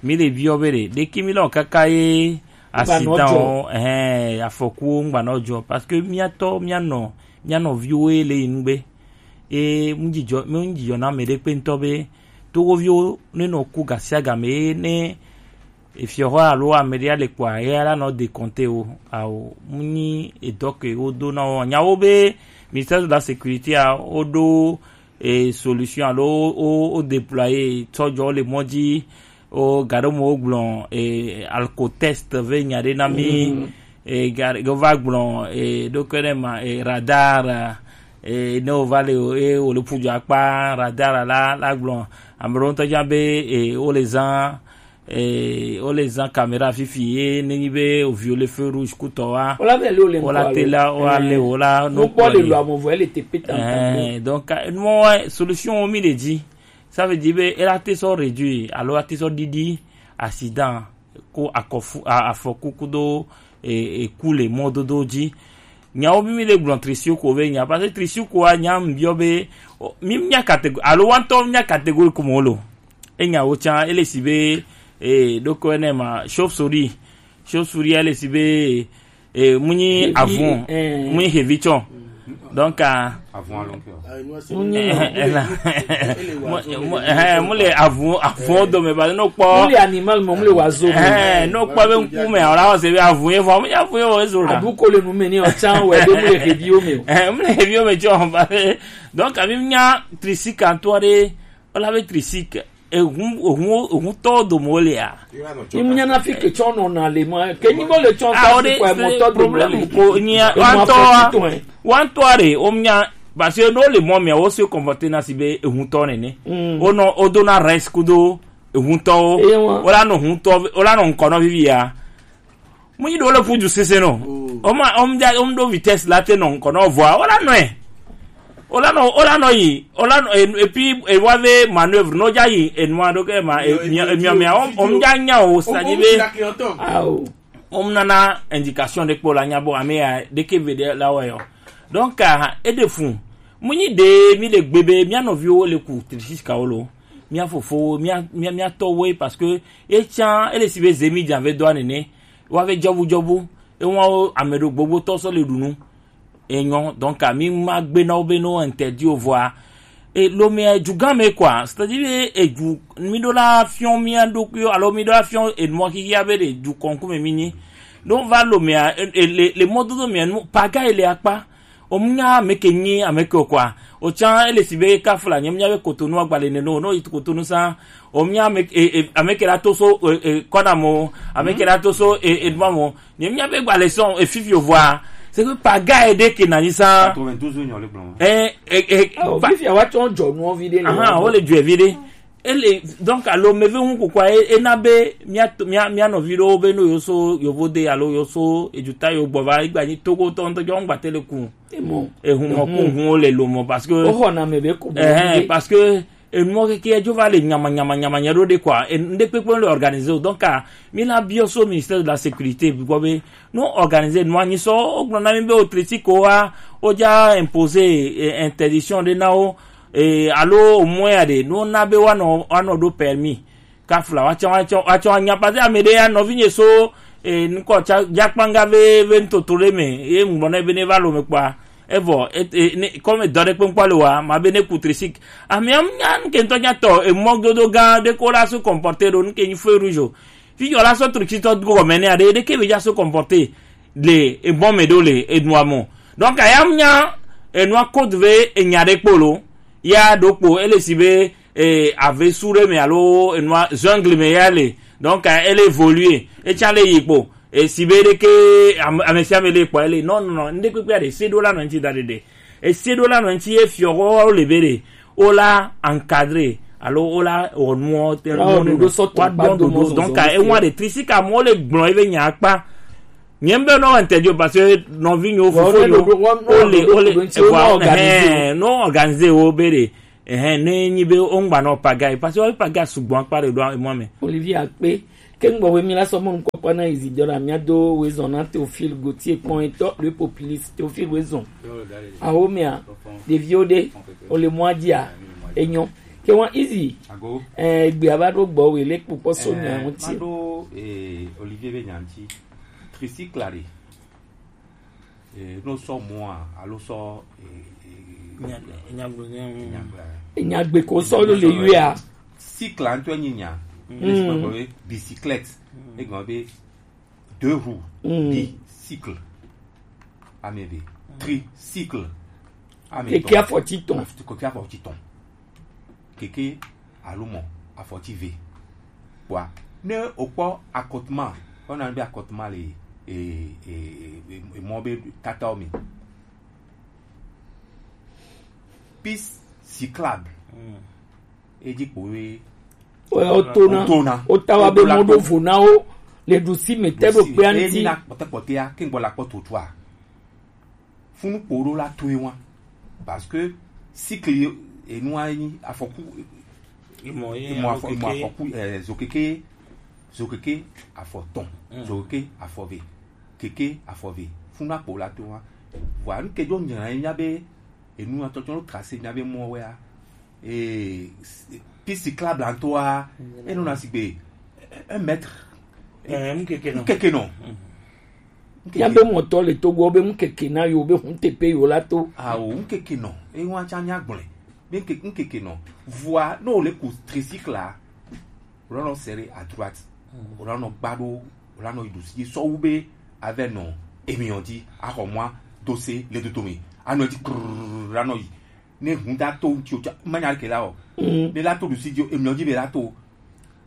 Mi le bio be de de ki mi lo kaka ye accident o eh afɔku o ngba no jo parce que mi ato mi ano mi ano vi o e le yin gbe. E mu ji jo mu ji jo na me de pe nto be to wo vi o ne no ku gasiaga me ne Efiɔhɔ alo ame ɖe ale kpɔa eya la nɔ de kɔnte o ao mu nyi edɔ ke wodo na wo nyawo be ministère de la sécurité a woɖo e solution alo wo wo déployer tsɔjɔ le mɔ dzi o gaɖo mo wo gblɔ e alcotest ve nya ɖe na mi e ga wo va gblɔ e ɖo ke ɖe ma e radar e ne wo va le o e wo le ƒu dzo akpa radar la la gblɔ ame ɖewo ŋutɔ dza be e wo le zã Ee, wo le zã caméra fifi ye ne nyi be o viole feu rouge kutɔ wa. Wo la be le wo le wo la ŋkɔ te alo? La wo ale wo la no nukpɔ le kpɔ lo ye. Amo vɔ ele te pe tantan. Ɛɛ, donc ka- nuwo wa solution wo mi le dzi. Ça veut dire be ela te sɔ réduire alo ate sɔ ɖiɖi accident ko akɔfu a- afɔku kudo e- eku le mɔdodo dzi. Nyawo mi mi le gblɔ trisioko be nya parce que trisioko a nya mi biɔ be o- mi nya catégorie alo wantɔ nya catégorie ko mo lo. Enyawo tsã ele si be eh, ɖoko ene ma chauve-souris chauve-souris ele si be eh, munyi avun eh. Munyi hevi tsɔ donc ah, avun alo nke o. Munyi eh, eh, la- mu- mu- eh, mu le avun avun do me ba no kpɔ mu le animal mo mu le wazo mo eh no kpɔ be nku me ora o se be avun ye fo mu ya avun ye o ezo la abu ko le nu me ni o tsã we be mu le hevi o me o eh mu le hevi o me tsɔ ba donc abi nya trisioko antɔ de Ola be trisik ehun ehun ehun tɔ do mo le a. Imu nyana fi ke tsɔ nɔ na le ma ke nyi mo le tsɔ Ah, ta o fi de kwa mo tɔ do mo problème le. Ko nyi E mo antɔ afɔ titɔn, eh. Wantɔ re o nya parce que no le mo mi o se comporter na si be ehun tɔ nene. Mm. O no o do na res kudo ehun tɔ o. Ewa. Ola no hun tɔ ola no nkono vivi ya. Mu yi do le fu ju sese no. O ma o mja o mdo vitesse la te no nko no voa. Ola no e. Ola no ola no yi. Ola no e- et puis e wa ve manœuvre no ja yi e no do ke ma e mi mi mi o o mja nya o sa ji be. Awo. O mna na indication de kpo la nya bo ame ya de ke ve de la wa yo. Donc ah, e de fu. Mu yi de mi le gbe be mi ano vi o le ku trisi ka o lo. Mi afofo mi mi mi ato we parce que e chan e le si be zemi ja ve do anene. Wa ve jɔbu jɔbu ewan o ame ɖo gbogbo tɔ sɔ le ɖu nu enyɔ donc ami ma gbe na wo be no interdit o vɔa e lo me eju gan me quoi c'est-à-dire eju mi ɖo la fiɔ mi ɖokui alo mi ɖo la fiɔ enua xixia be ɖe ju kɔnku me mi nyi ɖo va lo mea e- e- le le mɔdodo mea nu paga ele akpa Omunya ameke nyi ameke o quoi. Otsã ele si be kafla nye munya be Cotonou agbale ne no no yi Cotonou sa. Omunya ameke e, e, ameke la toso e, e, kona mo ameke la toso e, e duma mo. Nye munya be gbale son e fifi o voa. C'est que paga e de ke na ni sa. Quatre-vingt-douze nyɔ le gblɔ. Eh eh eh. Ah, o fifi awa tsɔ jɔ nu vi de le. Aha, o le jɔ vi de. Ele donc alo meve ŋu kokua e- ena be mia mia mia nɔvi ɖewo be no yo so yovo de alo yo so ejuta yo gbɔ va egba nyi togo tɔ ŋutɔ jɔ ŋgba te le ku ehun mɔ ku hun le lo mɔ parce que ohɔ na me be ku ɛhɛn parce que enumɔ keke edzo va le nyama nyama nyama nya ɖo ɖe kɔa ŋɖe kpekpe le organiser o donc a mi la biɔ so ministère de la sécurité gbɔ be no organiser nua nyi sɔ o gblɔ na mi be o tresi ko wa o dza imposer eh, interdiction ɖe na wo e alo omɔe ya ɖe no na be woanɔ woanɔ ɖo permis kafla woatsɔ woatsɔ woatsɔ anya parce que ame ɖe ya nɔvinye so e nukɔ tsa dzakpanga ve ve ntoto ɖe me ye ŋgblɔ nɛ be ne va lo me kpɔa evɔ e e ne kɔmi dɔ ɖe kpekpe le wa ma be ne ku trisik amea nya nuke ŋutɔ nya tɔ emɔ dodo gã ɖe ko la so comporter ɖo nuke nyi feu rouge o fi yɔ la so tritsitɔ gɔmɛ ne aɖe ɖe ke be dza so comporter le ebɔn me ɖo le enua mɔ donc aya nya enua code ve enya ɖe kpolo ya ɖo kpo ele si be eh, ave su ɖe me alo enua jungle me ya le donc eh, ele évoluer etsa le yi kpo esi be ɖe ke ame ame sia ame le kpɔ ele non non non ŋɖe kpekpe aɖe se ɖo la nɔ ŋti da ɖe ɖe ese ɖo la nɔ ŋti ye fiɔ wo le be ɖe o la encadrer alo wo la wɔ nuwo te. Wa wɔ ɖoɖo sɔ to wa kpa dɔn do ɖoɖo mɔ zɔzɔ donc ka ewa de trisi ka mɔ le gblɔ ebe nya kpa. Nye be no ente jo parce que nɔvi nyo fofo yo o le o le ewa no organiser wo be de. Ehɛn, ne nyi be wo ŋgba nɔ paga yi, parce que wo paga sugbɔ akpa ɖe ɖo emɔ me. Olivia kpe ke ŋgbɔ be mi la sɔ mɔnu kpɔkpɔ na Isidore, mia do wezɔn na Théophile Gauthier kpɔn etɔ le populiste Théophile wezɔn. Awo mea ɖeviwo ɖe o le mɔa dzia enyɔ ke wa easy. Ago. Eh, egbe ava ɖo gbɔ we le kpɔkpɔ so nya ŋuti. Ma ɖo eh, Olivier be nya ŋuti. Tricycle la ɖe. Eh, no sɔ mɔa alo sɔ eh, eh, Nya- nya gblɔ nya- nya- nya- Nyagbe ko sɔ lo le yua. Cycle ŋutɔ nyi nya. Bicyclette. Egɔme be deux roues. Bicycle. Ame eve. Tricycle. Ame etɔn. Keke afɔti tɔn. Keke afɔti tɔn. Keke alo mɔ afɔti ve. Kpɔa, ne okpɔ akɔtuma, ona be akɔtuma le e e e e mɔ be tatawo mi. Piste cyclable. Edzi kpo we. Otona. Otona. Otawa be mɔ ɖo vo na wo le ɖusi me te ɖo kpea ŋuti. Ena kpɔtɛkpɔtɛa ke ŋgbɔ la kpɔ totua. Funu kpo ɖo la toe wa. Parce que cycle enua nyi afɔku. Imɔ ye imɔ afɔ imɔ afɔku eh, zokeke zokeke afɔ tɔn zokeke afɔ ve keke afɔ ve funu akpo la to wa. Vɔa nu ke dzo nyina ye mia be enu atɔtɔ lo tracé mia be mɔ wɛa. Eh, piste cyclable antoa enu na sigbe un mètre. Eh, nkeke nɔ. Nkeke nɔ. Mía be mɔtɔ le Togo be ŋkeke na yo be ŋutete yo la to. Awo ŋkeke nɔ. Ewa tsa mía gblɔe. Be ŋke- ŋkeke nɔ. Vɔa ne wole ku tricycle la, wòla nɔ serré à droite. Wòla nɔ gba ɖo, wòla nɔ yi ɖusi dzi sɔwu be avɛ nɔ emiɔ dzi axɔ mɔa dose le dodo me. Anɔ dzi krrrr anɔ yi. Ne hun da to ŋuti o tsa manya ke la o. Ne la to ɖusi dzi o emiɔ dzi be la to.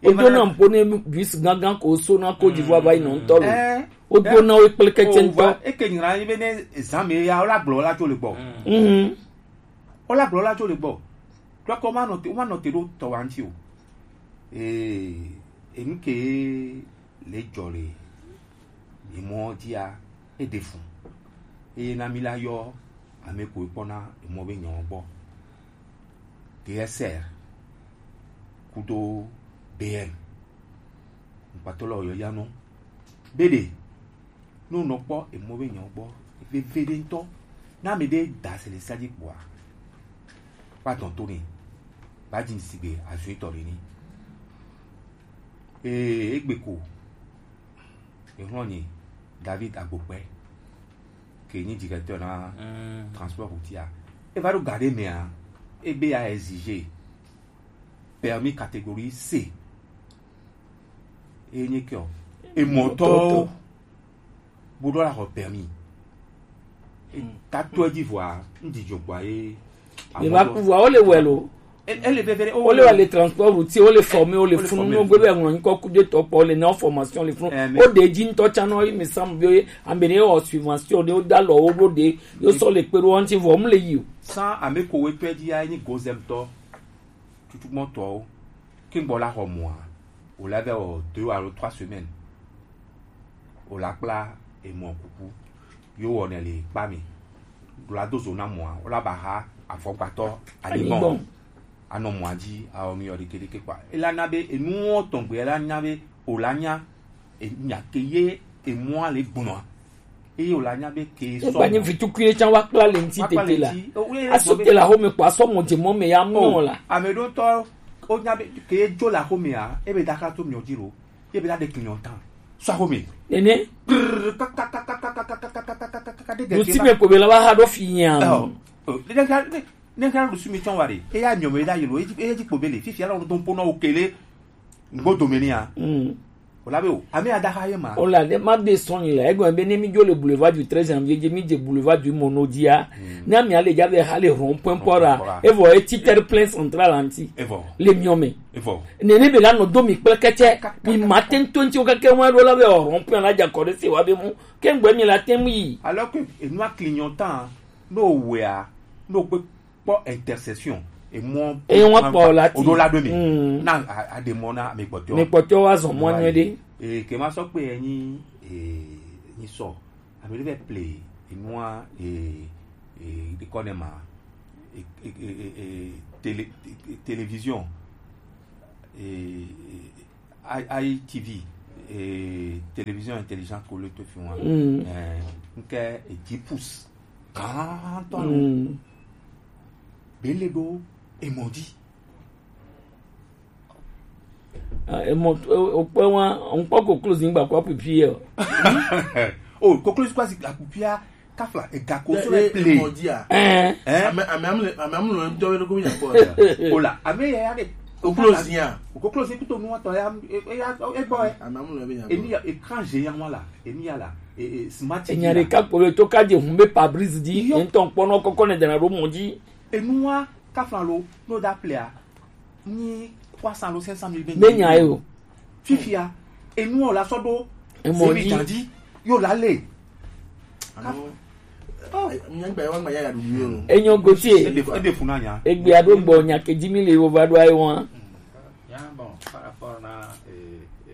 Edo na mpo ne bus gangan ko so na Côte d'Ivoire va yi nɔ ŋutɔ lo. Wodo na wo kple kɛtsɛ ŋutɔ. Eke nyina yi be ne zã me ya wola gblɔ la tso le gbɔ. Wola gblɔ la tso le gbɔ. Tɔkɔ ma nɔ te ma nɔ te ɖo tɔ wa ŋuti o. Ee enu ke le dzɔ le emɔ dzia eɖe fu. Eye na mi la yɔ ame ko kpɔna emɔ be nyawo gbɔ. D S R kudo B M. Ŋkpatɔ lɔ yɔ ya nɔ. Be ɖe ne wonɔ kpɔ emɔ be nyawo gbɔ veve ɖe ŋutɔ. Ne ame ɖe da se le sia dzi kpɔa, va dɔn to nɛ, va dzi sigbe azui tɔ ɖe ni. Ee, egbe ko exlɔ̃nye David Agbokpe ke nyi directeur na transport routier. Eva ɖo ga ɖe mea, ebe ya exiger permis catégorie C. Enye ke o. Emɔtɔwo bo ɖo la xɔ permis. Tato edzi vɔa, ŋdidi dzogboa ye. Eva ku vɔa, wole wɛ lo. Ele veve ɖe, wole wɛ le transport routier, wole former, wole funu, no gbe be ŋlɔ nyikɔ ku de tɔ kpɔ, le na formation le funu. O de dzi ŋutɔ tsa nɔ, mi sam be ame ne wɔ subvention de, o da lɔ wo ɖo de, yo sɔ le kpe ɖo ŋuti vɔ, mu le yi o. San ame ko we tɔ edzi ya nyi gozem tɔ, tutu gbɔn tɔwo. Ke gbɔ la xɔ mɔa, wòle ava wɔ deux alo trois semaines. Wòle akpla emɔ kuku. Yo wɔnɛ le kpa mi. Ɖo la do zo na mɔa, wòle aba ha afɔkpatɔ aligbɔn. Anɔ mɔa dzi awɔ mi yɔ ɖeke ɖeke kpa. Ela na be enuwo tɔgbe ela nya be wòle anya enya ke ye emɔa le gbɔnɔa. Eye wòle anya be ke sɔ. Egba nyi vitukui ɖe tsã wa kpla le ŋuti tete la. Aso te la xɔme kpɔ asɔ mɔ dze mɔ me ya mɔ la. Ame ɖo tɔ o nya be ke dzo la xɔme ya ebe da ka to miɔ dzi lo. Ye be da de kinyɔ tan. Sɔ xɔme. Nene. Ɖusi me ko be la wa ha ɖo fi nya. Ne ka ɖusi mi tsɔn wa ɖe. Eya miɔ me da yelo. Eya dzi kpo be le. Fifia la wo do po na wo kele. Ŋgbo dome ni ya. Wòle be o, ame adaxa ye ma. Wòle aɖe ma de sɔn yi le egɔme be ne mi dzo le boulevard du treize janvier dzi, mi dze boulevard du Mono dzia, ne amia le dza be xa le rond point pɔra, evɔ etsi terre-plein central anti. Evɔ. Le miɔ me. Evɔ. Nene be la nɔ do mi kple kɛtsɛ, mi ma te ŋutɔ ŋuti wo keke ŋua ɖo la be rond point la dza kɔ ɖe se wa be mu, ke ŋgbe mi la te ŋu yi. Alors que enua clignotant, no wea, no kpe kpɔ intercession. emɔ e wọn kpɔ la ti oɖo la ɖo mi. Mm. Na a- aɖe mɔ na ame kpɔtɔ. Mi kpɔtɔ wa zɔn mɔ nyuie ɖe. Ee, ke ma sɔ kpe enyi ee nyi sɔ ame ɖe vɛ ple enua ee ee ɖe kɔ ne ma ee ee ee ee télé ee, télévision ee ee, I T V ee télévision intelligente ko le to fi wọn. Mm. Ee nke e dix pouces gãtɔ lo. Mm. Be le ɖo emɔ dzi. Ah, emɔ o kpɛ wa ŋkpɔ koklozi ŋgba kɔ pupi yɛ o. O koklozi kɔ asi akupia kafla ega ko so le ple. Mɔdia. Ɛn. Ɛn. Ame ame amle ame amle ŋdɔ be ko nya kɔ. O la ame ya ya de. Koklozi ya. O koklozi kuto nu atɔ ya e ya e bɔ e. Ame amle be nya. Emi ya écran géant wa la emi ya la e e smart T V. Enya la. Ɖeka kpɔ be to ka dze hun be pabris di. Iyo. Ŋtɔ kpɔnɔ kɔkɔ ne dana ɖo mɔ dzi. Enua kafla lo no da plea ni trois cents lo cinq cent mille be ne nya ye o. Fifia enu o la sɔ ɖo emɔ dzi. Dzi yo la le. Alo. Oh. Nyagba wa ma ya ya du yo. Enyo gotie. Ede ede funa nya. Egbe ado gbɔ nya ke dzi mi le wo va ɖo ayi wa. Ya bon par rapport na eh, eh,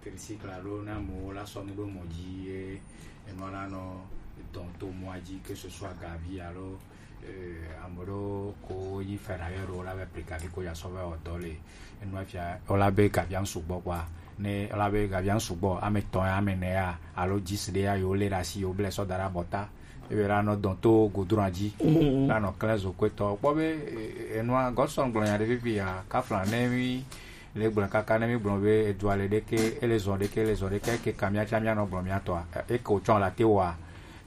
tricycle alo ne amewo la sɔ nu ɖo mɔ dzi ye enua la nɔ dɔn to mɔa dzi, que ce soit gavi alo eh, ame ɖewo ko nyi ferrailleur ɖewo la be ple gavi ko ya sɔ va wɔ dɔ le enua fia o la be gavia ŋ sugbɔ kpɔa ne o la be gavia ŋ sugbɔ ame etɔ̃ ya ame ene ya alo dix ɖe ya yewo lé ɖe asi yewo ble sɔ da ɖe abɔta ebe la nɔ dɔn to goudron dzi la nɔ klẽ zo kɔetɔ kpɔ be eh, enua Godson gblɔ nya ɖe fifi ya kafla ne mi le gblɔ kaka ne mi gblɔ be edua le ɖeke ele zɔn ɖeke ele zɔn ɖeke eke ka mia tsa mia nɔ gblɔ mia tɔa eke o tsɔn la te wa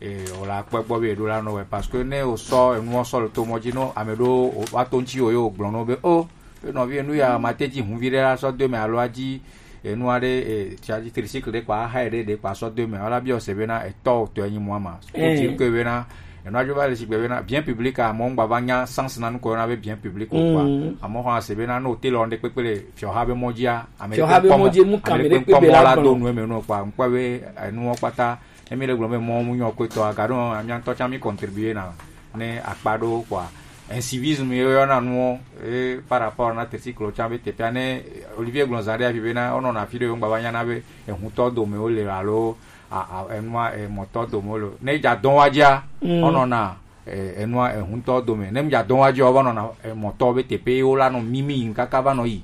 e o la kpɔ gbɔ be eɖo la nɔ wɛ parce que ne o sɔ enuɔ sɔ le to mɔ dzi no ame ɖo o wa to ŋtsi o ye o gblɔ no be o e nɔvi enu ya ma te dzi hunvi ɖe la sɔ do me alo adzi enua ɖe e tsa dzi tricycle ɖe kpa aha ɖe ɖe kpa sɔ do me wala bi o se be na etɔ o tɔ enyi mɔ ma o ti ke be na Enua dzo va le sigbe bena bien public a, amewo ŋgba va nya sens na nu ko yɔna be bien public o kpɔa. Mm. Amewo hã se bena ne wote le wɔm ɖe kpekpe le fiɔha be mɔ dzia, ame fiɔha be mɔ dzi mu kame ɖe kpekpe be la do nu eme nu kpɔa. Ŋkpɔ be enuwo kpata ne mi le gblɔ be mɔ mu nyɔ kpetɔ aga ɖo mia ŋutɔ tsã mi contribuer na ne akpa ɖo kpɔa. Incivisme ye yɔna nuwo e par rapport na tricycle tsã be teƒea ne Olivier gblɔ zã ɖe afi bena wonɔna afi ɖe wo ŋgba va nya na be ehutɔ dome wo le alo a- a- enua emɔtɔ dome lo ne dza dɔn wa dzia Mm. Ɔnɔna e- enua ehuntɔ dome ne dza dɔn wa dzia ɔva nɔna emɔtɔ be teƒe wo la nɔ mimi yi kaka va nɔ yi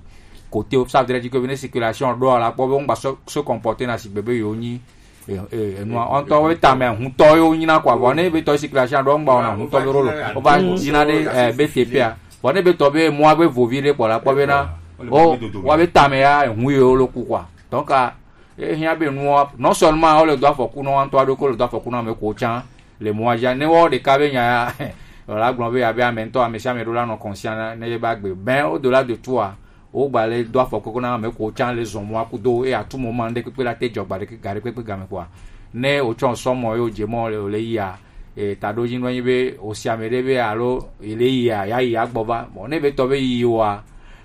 kote wo sa vedre dzi ko ne circulation ɖo la kpɔ be ŋgba se- se comporter na sigbe be yewo nyi e- e- enua ɔntɔ wo tame ehuntɔ yewo nyina kɔ avɔ ne be tɔ circulation ɖo ŋgba wɔna ehuntɔ be rolo wova dzina ɖe e- be teƒea vɔ ne be tɔ be mɔa be vovi ɖe kpɔ la kpɔ be na o wa be tame ya ehu yewo lo ku kɔ donc a Ehiã be nua non seulement wole do afɔku na wo ŋutɔ aɖo ko le do afɔku na ame ko tsã le mɔa dzi ne wɔ ɖeka be nya ya wòla gblɔ be abe ame ŋutɔ ame sia ame ɖo la nɔ conscient ne ye ba gbe ben au delà de tout a wogba le do afɔku na ame ko tsã le zɔ mɔa kudo eye à tout moment ɖe kpekpe la te dzɔ gba ɖe ga ɖe kpekpe game kɔa ne wotsɔ sɔ mɔ ye wodze mɔ le le yia e taɖo dzi nɔ nyi be wosi ame ɖe be alo ele yia ya yi agbɔ va mɔ ne be tɔ be yi wa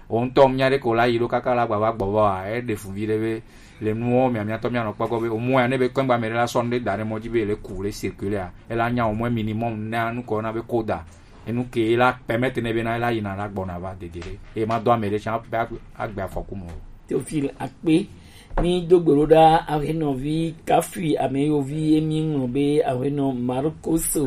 wo ŋutɔ nya ɖe ko la yi ɖo kaka la gba va gbɔ va wa eɖe fu vi ɖe be le nuwo mia miatɔ mianɔ kpɔ gbɔ be omɔ ya ne be kɔngba mɛ ɖe la sɔ nu ɖe da ɖe mɔ dzi be le ku le circuler a ela nya omɔ minimum na nu kɔ na be koda enu ke la permettre ne be na ela yina la gbɔna va dede ɖe e ma dɔ ame ɖe tsã be agbe afɔku mɔ. Théophile Akpe, mi do gbe ɖo ɖa ahenɔvi Kafui ame yovi emi ŋlɔ be ahenɔ Marcos.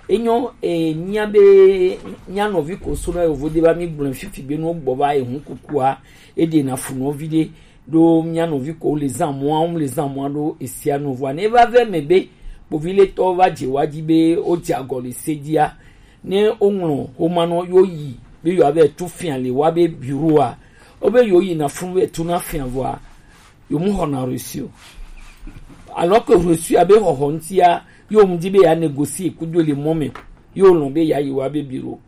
Enyo e nya be nya nɔvi ko so na yovo de ba mi gblɔ fifi be no gbɔ va ehun kukua e de na fu nɔvi de ɖo mía nɔvi ko le zã mɔa ŋu le zã mɔa ɖo esia nu vɔa ne va vɛ mɛ be kpoviletɔ va dze wa dzi be wodze agɔ le se dzia ne woŋlɔ xoma nɔ yo yi be yewoa vɛ tu fia le wa be bureau a wobe yewo yina funu vɛ tu na fia vɔa yewo mu xɔna reçu o alors que reçu a be xɔxɔ ŋutia yewo mu di be ya négocier kudo le mɔ mɛ yewo lɔn be ya yi wa be bureau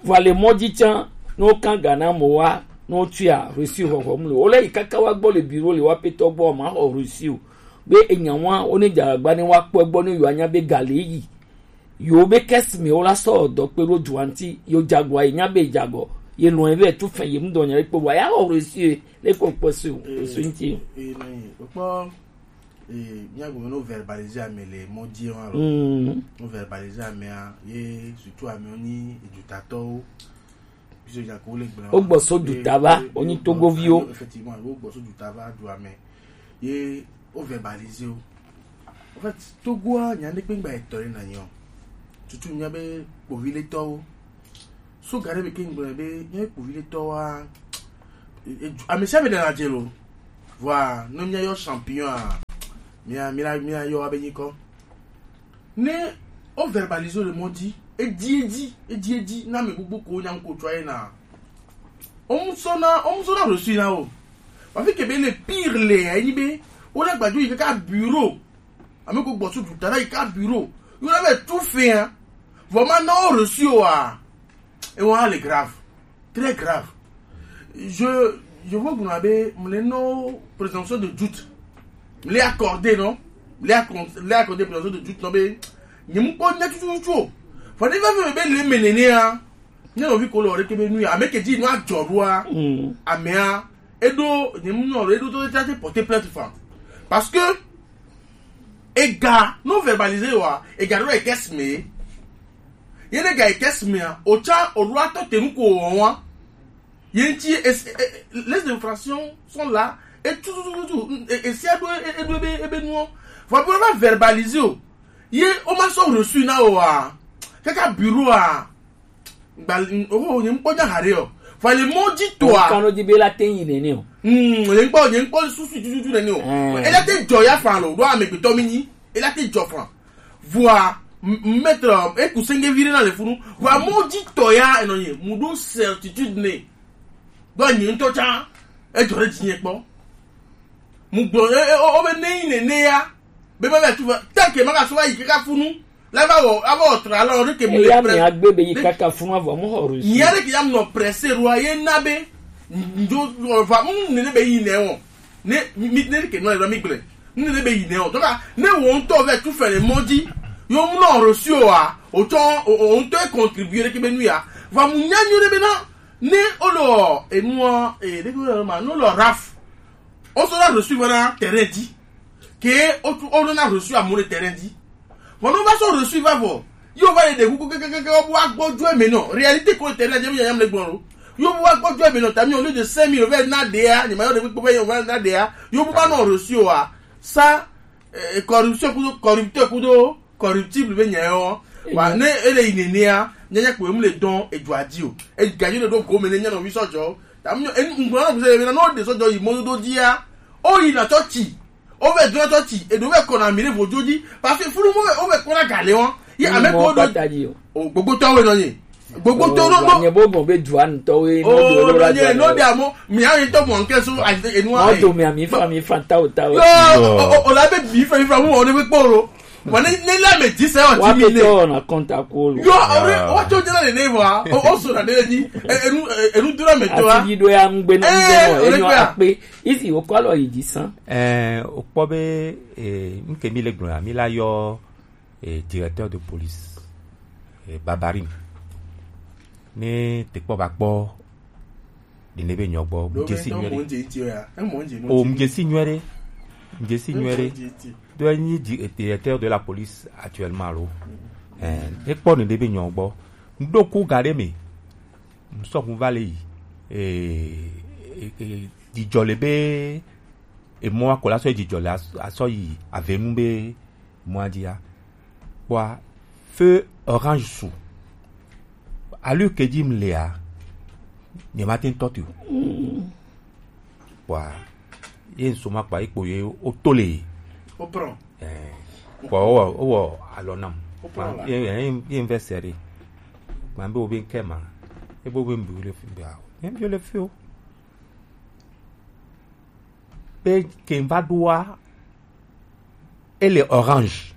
Vɔa le mɔ dzi tsã, ne wokan ga na amewo wa, ne wotsɔa reçu xɔxɔm le, wole yi kaka wa gbɔ le bureau le wa petɔ gbɔ, ma xɔ reçu o. Be enya wa, wo ne dza agba ne wa kpɔe gbɔ ne yewoa nya be ga le yi. Yewo be caisse me wo la sɔ dɔ kpe ɖo dua ŋuti, yewo dza agɔa, ye nya be dza agɔ, ye lɔn ye vɛ tu fɛ, ye mu dɔ nya ɖe kpe vɔa, ya xɔ reçu ye, le ko kpɔ su, reçu ŋuti. Ee, ne kpɔ Ee, mía gɔme no verbaliser ame le mɔ dzi hã lo. Mm. No verbaliser amea, ye surtout amewo nyi edutatɔwo. Wo gbɔ so duta va, wo nyi Togoviwo. Effectivement, wo gbɔ so duta va dua me. Ye wo verbaliser wo. En fait, Togo a nya ne kpengba etɔ ye na nyo. Tutu nya be kpovi le tɔwo. So gare be kengbe be nya kpovi le tɔwa. Amesi ame dana jelo. Voilà, no mia yo champion a. Mia mia mia yo abe nyiko. Ne o verbaliser le mot dit, e di e di e di e di na me gbogbo ko nya ko tsɔ ye na. Omusona omusona reçu na o. Wa fi ke be le pire le ya ni be o la gbadjo yi kaka bureau. Ame ko gbɔ so duta la yi ka bureau. Yo la be tout fait hein. Vraiment non reçu o a. Et on a le grave. Très grave. Je je vois qu'on avait mon nom présomption de doute. Les accorder non. Les accordé présomption de doute non mais ni mu ko nya tutu tutu. Faut ne va me be le menene hein. Nyɔnuvi ko le ɔɖe ke be nu ya ame ke dzi nu adzɔ ɖoa. Amea eɖo nye mu nyɔnu eɖo to te porter plainte fa parce que ega no verbaliser wa ega ɖo ekes me ye ne ga ekes mea o tsa o ɖo atɔ te nu ko wɔn wa ye ŋtsi les infractions sont là et tout tout tout tout esia ɖo eɖo ebe ebe nuɔ vɔ bi wa verbaliser o ye o ma sɔ reçu na o wa kaka bureau a Gba oh nye ŋkpɔ nya haɖe o. Vɔ le mɔ dzi toa. Kan no di be la te yi nene o. Hmm, nye ŋkpɔ nye ŋkpɔ susu tututu nene o. Eh. Ela te dzɔ ya fan lo ɖo amegbetɔ mi nyi. Ela te dzɔ fan. Vɔa maître eku senge vi ɖe na le funu. Vɔa mɔ dzi tɔ ya enɔ nye mu ɖo certitude ne. Ɖo nye ŋutɔ tsa edzɔ ɖe dzi nye kpɔ. Mu gblɔ e e o be ne yi nene ya. Be ma va tu va. Teke ma ka so va yi kaka funu. La va wɔ ava wɔ tra la o ɖeke mu le eya mi presse agbe be yi kaka funu avɔ mu xɔ reçu nyia ɖeke ya mu nɔ presse ɖoa ye na be ndo va mu ne ne be yi nɛ wɔ ne mi ne ɖeke nɔ la mi gblẽ ne ne be yi nɛ wɔ donc ne wo ŋutɔ vɛ tu fɛ le mɔ dzi yo mu nɔ reçu o wa o tsɔ o o ŋutɔ e contribuer ɖeke be nu ya va mu nya nyo ɖe be na ne o lɔ enua e ɖeke o lɔ ma ne o lɔ raf o sɔ na reçu va na terrain dzi ke o tu o lɔ na reçu amu le terrain dzi Vɔ ne wova sɔ reçu va vɔ, ye wova yi ɖe kuku kekekeke wobu agbɔdzo eme nɔ. Réalité ko le terrain dzi, mi nyanya le gblɔ lo. Ye wobu agbɔdzo eme nɔ, ta mi au lieu de cinq mille, wova na ɖea, nyema yɔ ɖe kpekpe, wova na ɖea, ye wobu va nɔ reçu oa, ça, eh, corruption kudo, corrupteur kudo, corruptible be nya yɔ. Wa, ne ele yi nenea, nyanya kpo emu le dɔn, edzoa dzi o. Egadzo le ɖo gome ne nya nɔvi sɔdzɔ. Ta mi nyɔ, enu, ŋgblɔ na ŋusẽ be na, ne woɖe sɔdzɔ yi mɔdodo dzia, woyi na tsɔ tsi. Wovɛ dona tɔ tsi eɖo vɛ kɔna mi ɖe vodzo dzi parce que funu mo vɛ wovɛ kɔna gale wɔn ye ame ko do o gbogbotɔ wɛ nɔ nye gbogbotɔ ɖo ɖo nye bo gbɔn be dua ŋutɔ wɛ o nɔ nye nɔ de amo mi ayi tɔ mɔ nke so ayi enu ayi mɔ do mi ami fa mi fa tawo tawo yo o o la be bi fa mi fa mu wɔn ne kpɔ ro wɔn ne ne la me dzi sɛ wa ti mi ne wa tɔ na kɔnta ko lo yo o re wa tɔ jɛ na ne ne wa o o so na ne ni enu enu dura me tɔ wa ati yi do ya ŋgbe na ŋgbe nɔ enyo akpe Isi wokɔ alɔ yi dzi sã. Ɛɛ, wokpɔ be, ee, nu ke mi le gblɔ ya, mi la yɔ, ee, directeur de police, ee, Babarin. Ne te kpɔ va kpɔ, ɖi ne be nyɔ gbɔ, mu dze si nyuie ɖe. O, mu dze si nyuie ɖe. Mu dze si nyuie ɖe. Do enyi di-, directeur de la police actuellement alo. Ɛɛ, ne kpɔ ɖi ne be nyɔ gbɔ. Ŋɖo ku ga ɖe me. Ŋsɔ ŋu va le yi. Ee, ee, ee, dzidzɔ le be emɔa ko la sɔ yi dzidzɔ le as-, asɔ yi avenu be mɔa dzia. Kpɔa, feu orange su. Alu ke dzi m lea, nye ma te ŋutɔ te o. Kpɔa, ye ŋsɔ ma kpɔa, ye kpo ye o to le. Wopɔ. Ɛɛ, kpɔ wowɔ wowɔ alɔ nam. Wopɔ la. Ye ye ye ŋvɛ sɛ ɖe. Gba be wo be ŋkɛ ma. Ebo be ŋbi le fi be awo. Ye ŋbi le fi o. Be ke ŋva ɖoa. Ele orange.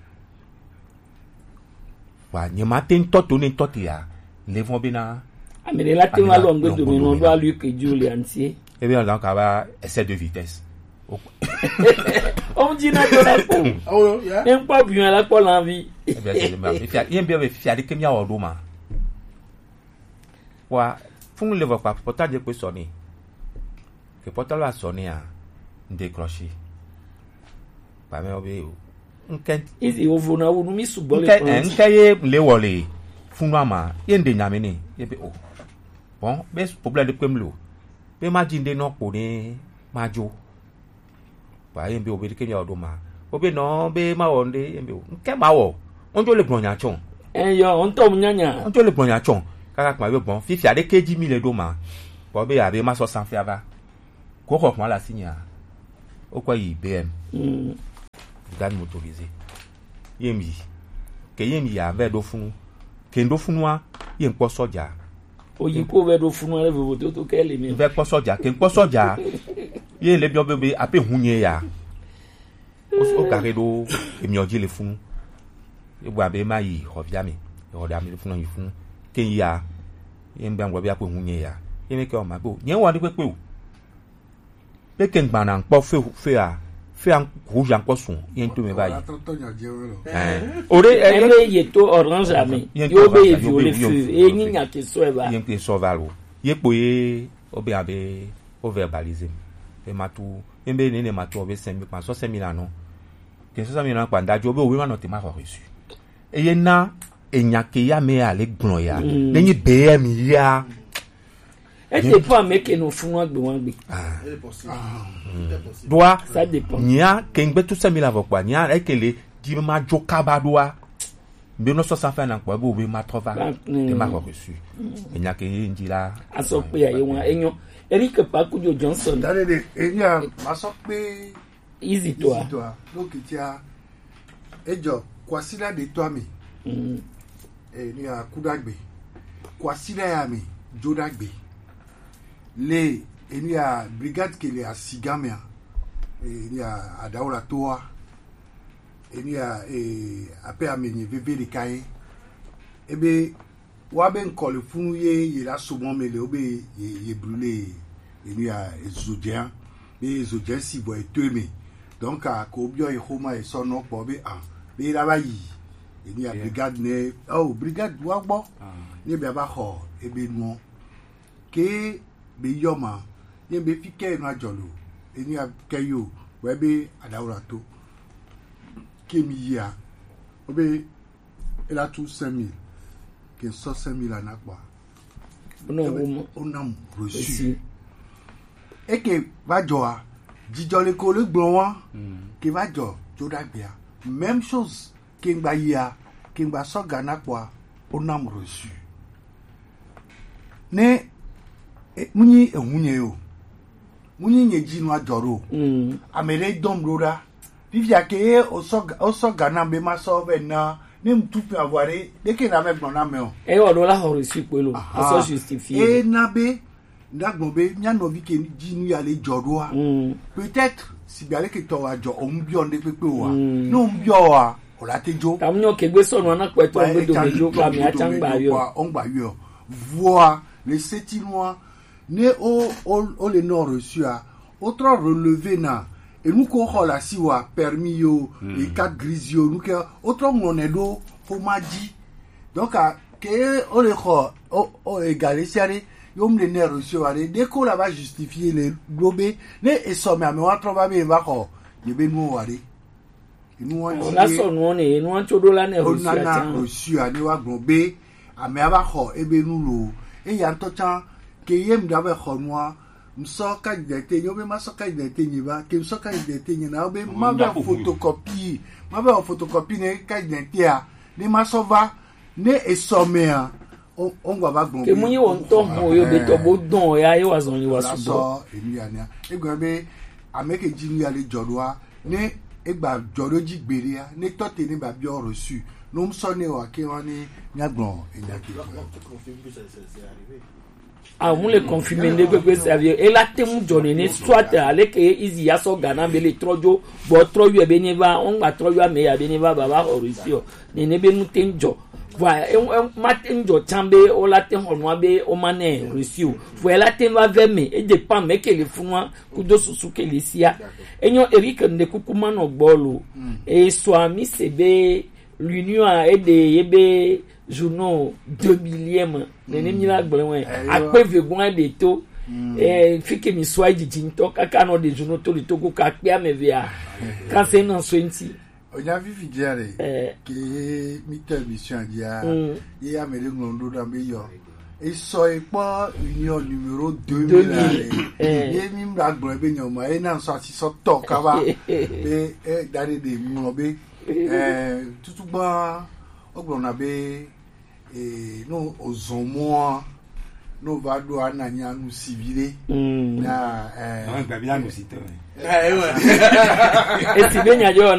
Wa nye ma te ŋutɔ to ne ŋutɔ te ya. Le vɔ be na. Ame ɖe la te va lɔ ŋgbe dome nɔ ɖo alu ke dzi o le antie. Ebe na ka ba excès de vitesse. Ɔmu dzi na do na kpɔ. Awo ya. Ne ŋkpɔ bi la kpɔ la vi. Ebe se ma. Fia, ye be fia de ke mi awo do ma. Wa fun le vɔ pa pota je pe sɔ ni. Ke pota la sɔ ni a. Nde croche. Pa me obe o. Nke. Izi wo vo na wo nu mi su gbɔ le. Nke, nke ye le wole. Fun wa ma. Ye nde nyame ni. Ye be o. Bon, be problème de kpem lo. Be ma dzi nde nɔ kpo ne ma dzo. Ba ye be o be ke mi o do ma. O be no be ma wo nde ye be o. Nke ma wo. Onjo le gbɔn nya tsɔn. Eyo, on to mu nyanya. Onjo le gbɔn nya tsɔn. Kaka kuma be gbɔn. Fifi ade ke dzi mi le do ma. Bo be ya be ma sɔ sanfɛ ava. Ko xɔ kuma la si nya. O kɔ yi B M. Mm. Garde motorisée. Ye mi. Ke ye mi ya be do funu. Ke ndo funua. Ye nkpɔ sɔdza. Oyi ko vɛ ɖo funu ale vovo toto kɛ le mi. Vɛ kpɔ sɔdza, ke kpɔ sɔdza. Ye le biɔ be be ape hu nye ya. O o gare ɖo emiɔ dzi le funu. Ye bua be ma yi xɔ via mi. Xɔ da mi funu yi funu. Ke ya. Ye n bɛ ŋgɔ be ape hu nye ya. Ye mi ke o ma be o. Nye wa ɖe kpekpe o. Be ke ŋgbana ŋkpɔ fe fe a fe a rouge a ŋkpɔ sun ye ŋto me va yi. Ɛɛ, o de ɛ Ebe ye to orange ame. Ye ŋto Yo be va ye yo be viole yo feu. Ye viole nyi feu. Nya ke so eva. Ye ŋke sɔ va lo. Ye kpo ye o be abe o verbaliser. E ma tu. Ye be ne ne ma tu o be cinq mille kpa sɔ cinq mille anɔ. Ke sɔ cinq mille anɔ kpa ndajo be o be ma nɔ te ma xɔ reçu. Eye na enya ke ya me ale gblɔ ya. Ne nyi B M ya. E dépend ame ke nɔ funu agbe wa gbe. Doa Ça dépend. Nya ke ngbe tu semi la vɔ kpa nya e ke le di ma jo kaba doa. Mbe no so sa fa na kpa bo be ma trɔ va. Te ma ko reçu. Enya ke ye ndi la. Aso pe aye wa enyo. Eric Pakujo Johnson. Dade de enya ma so pe Easy to a. Easy to a. Donc tia ejo kwasila de to ami. Mm. E ni a kudagbe. Kwasila ya mi jodagbe. Le e ni a brigade ke le a sigamia. E ni a adaola to a. E ni a e ape amenye veve de kai. Ebe wa be ŋkɔ le funu ye ye la so mɔ me le wo be ye ye brule enu ya ezo dze be ezo dze si vɔ eto eme. Donc a ko biɔ ye xoma ye sɔ nɔ kpɔ be a be ye la va yi enu ya brigade ne o brigade wa gbɔ ne be a va xɔ ebe nuɔ ke be yɔ ma ye be fi ke enu adzɔ lo enu ya ke yo wɛ be adawura to ke mi yia o be e la tu cinq mille ke sɔ cinq mille ana kpɔa. Ona wo mo. Ona mo reçu. Eke va jɔ a jijɔ le ko le gblɔ wa ke va jɔ jo dagbea même chose ke ngba yia ke ngba sɔ gana kpɔa ona mo reçu. Ne e, munyi ehunye yo munyi nye dzi nua jɔ ɖo ame ɖe dɔm ɖo ɖa. Fifia ke ye wosɔ ga- wosɔ ga nam be masɔ vɛ na ne ŋtu fi avɔ aɖe ɖeke na vɛ gblɔ na me o. Eye wòɖo la xɔ reçu kpoe lo. Aha. Esɔ justifié. Eye na be ndagblɔ be mía nɔvi ke dzi nu ya le jɔ ɖoa. Peut-être sigbe ale ke tɔ wa jɔ o ŋu biɔ ŋɖe kpekpe o wa. Ne o ŋu biɔ wa o la te dzo. Tamu nyɔ ke gbe sɔnu ana kpɛtɔ ŋgbe dome dzo kpa mi atsa ŋgba yɔ. O ŋgba yɔ. Vɔa le setinua ne o o o le nɔ reçu a o trɔ relevé na enu ko xɔ le asi wa permis yo e carte grise yo nu ke o trɔ ŋlɔ nɛ ɖo xoma dzi. Donc a ke o le xɔ o o ega ɖe sia ɖe yo mu le nɛ reçu wa ɖe ɖe ko la va justifier le ɖo be ne esɔ me ame wa trɔ va be va xɔ ye be nuwo wa ɖe. Enu wa o la sɔ nuwo ne enu wa tso ɖo la ne o reçu nana atsa. Reçu a ne wa gblɔ be ame ava xɔ ebe nu lo eya ŋutɔ tsã ke ye mu ɖa be xɔ nua ŋsɔ carte d'identité nyo be ma sɔ carte d'identité nyi va ke ŋsɔ carte d'identité nyi na be ma be photocopie ma be photocopie ne carte d'identité a ne ma sɔ va ne esɔ mea o o ŋgɔ va gblɔ ke mu nyi wɔ ŋutɔ hɔn o yo be tɔ bo dɔn o ya ye wa zɔn yi wa su bɔ. Sɔ enu ya nia egbe be ame ke dzi nu ya le jɔ ɖoa ne egba jɔ ɖo dzi gbeɖea ne tɔ te ne ba biɔ reçu no ŋsɔ ne wa ke wa ne mia gblɔ enya ke gblɔ. Ah, mu le confirmer ne gbegbe se avi e la te mu jɔ ne ne soit ale ke izi ya sɔ gana be le trɔ jo bɔ trɔ yɔ be ne va on gba trɔ yɔ ame ya be ne va ba va xɔ reçu o ne ne be nu te jɔ. Voilà, e, e, ma te jɔ tsan be o la te xɔ nua be o ma ne reçu o. Voilà, e la te va vɛ me e dépend me ke le funua kudo susu ke le sia. Enyo Eric nde kuku ma nɔ gbɔ lo. E so ami se be l'union a e de ye be journaux deux millième nene mi la gblẽ wɛ akpe vegun aɖe to eh, fi ke mi sɔ ayi didi ŋutɔ kaka nɔ ɖe zunu to li to ko ka kpe ame vea kanse na so ŋuti. Onya fifi dzia ɖe ke mi tɔ emission dzia ye ame ɖe ŋlɔ ŋɖo ɖa be yɔ Esɔ ekpɔ union numéro deux mille. Deux mille. Eh. Ye mi mla gblɔ be nyɔma ye na sɔ asi sɔ tɔ kaba be e da ɖe ɖe ŋlɔ be eh, tutu gbã wogblɔna be eh, no ozɔmɔa no va ɖo ananya nu sivi ɖe. Mm. Na eh, Àwọn ìgbà bí àná sí tán. Esi be nya jɔ na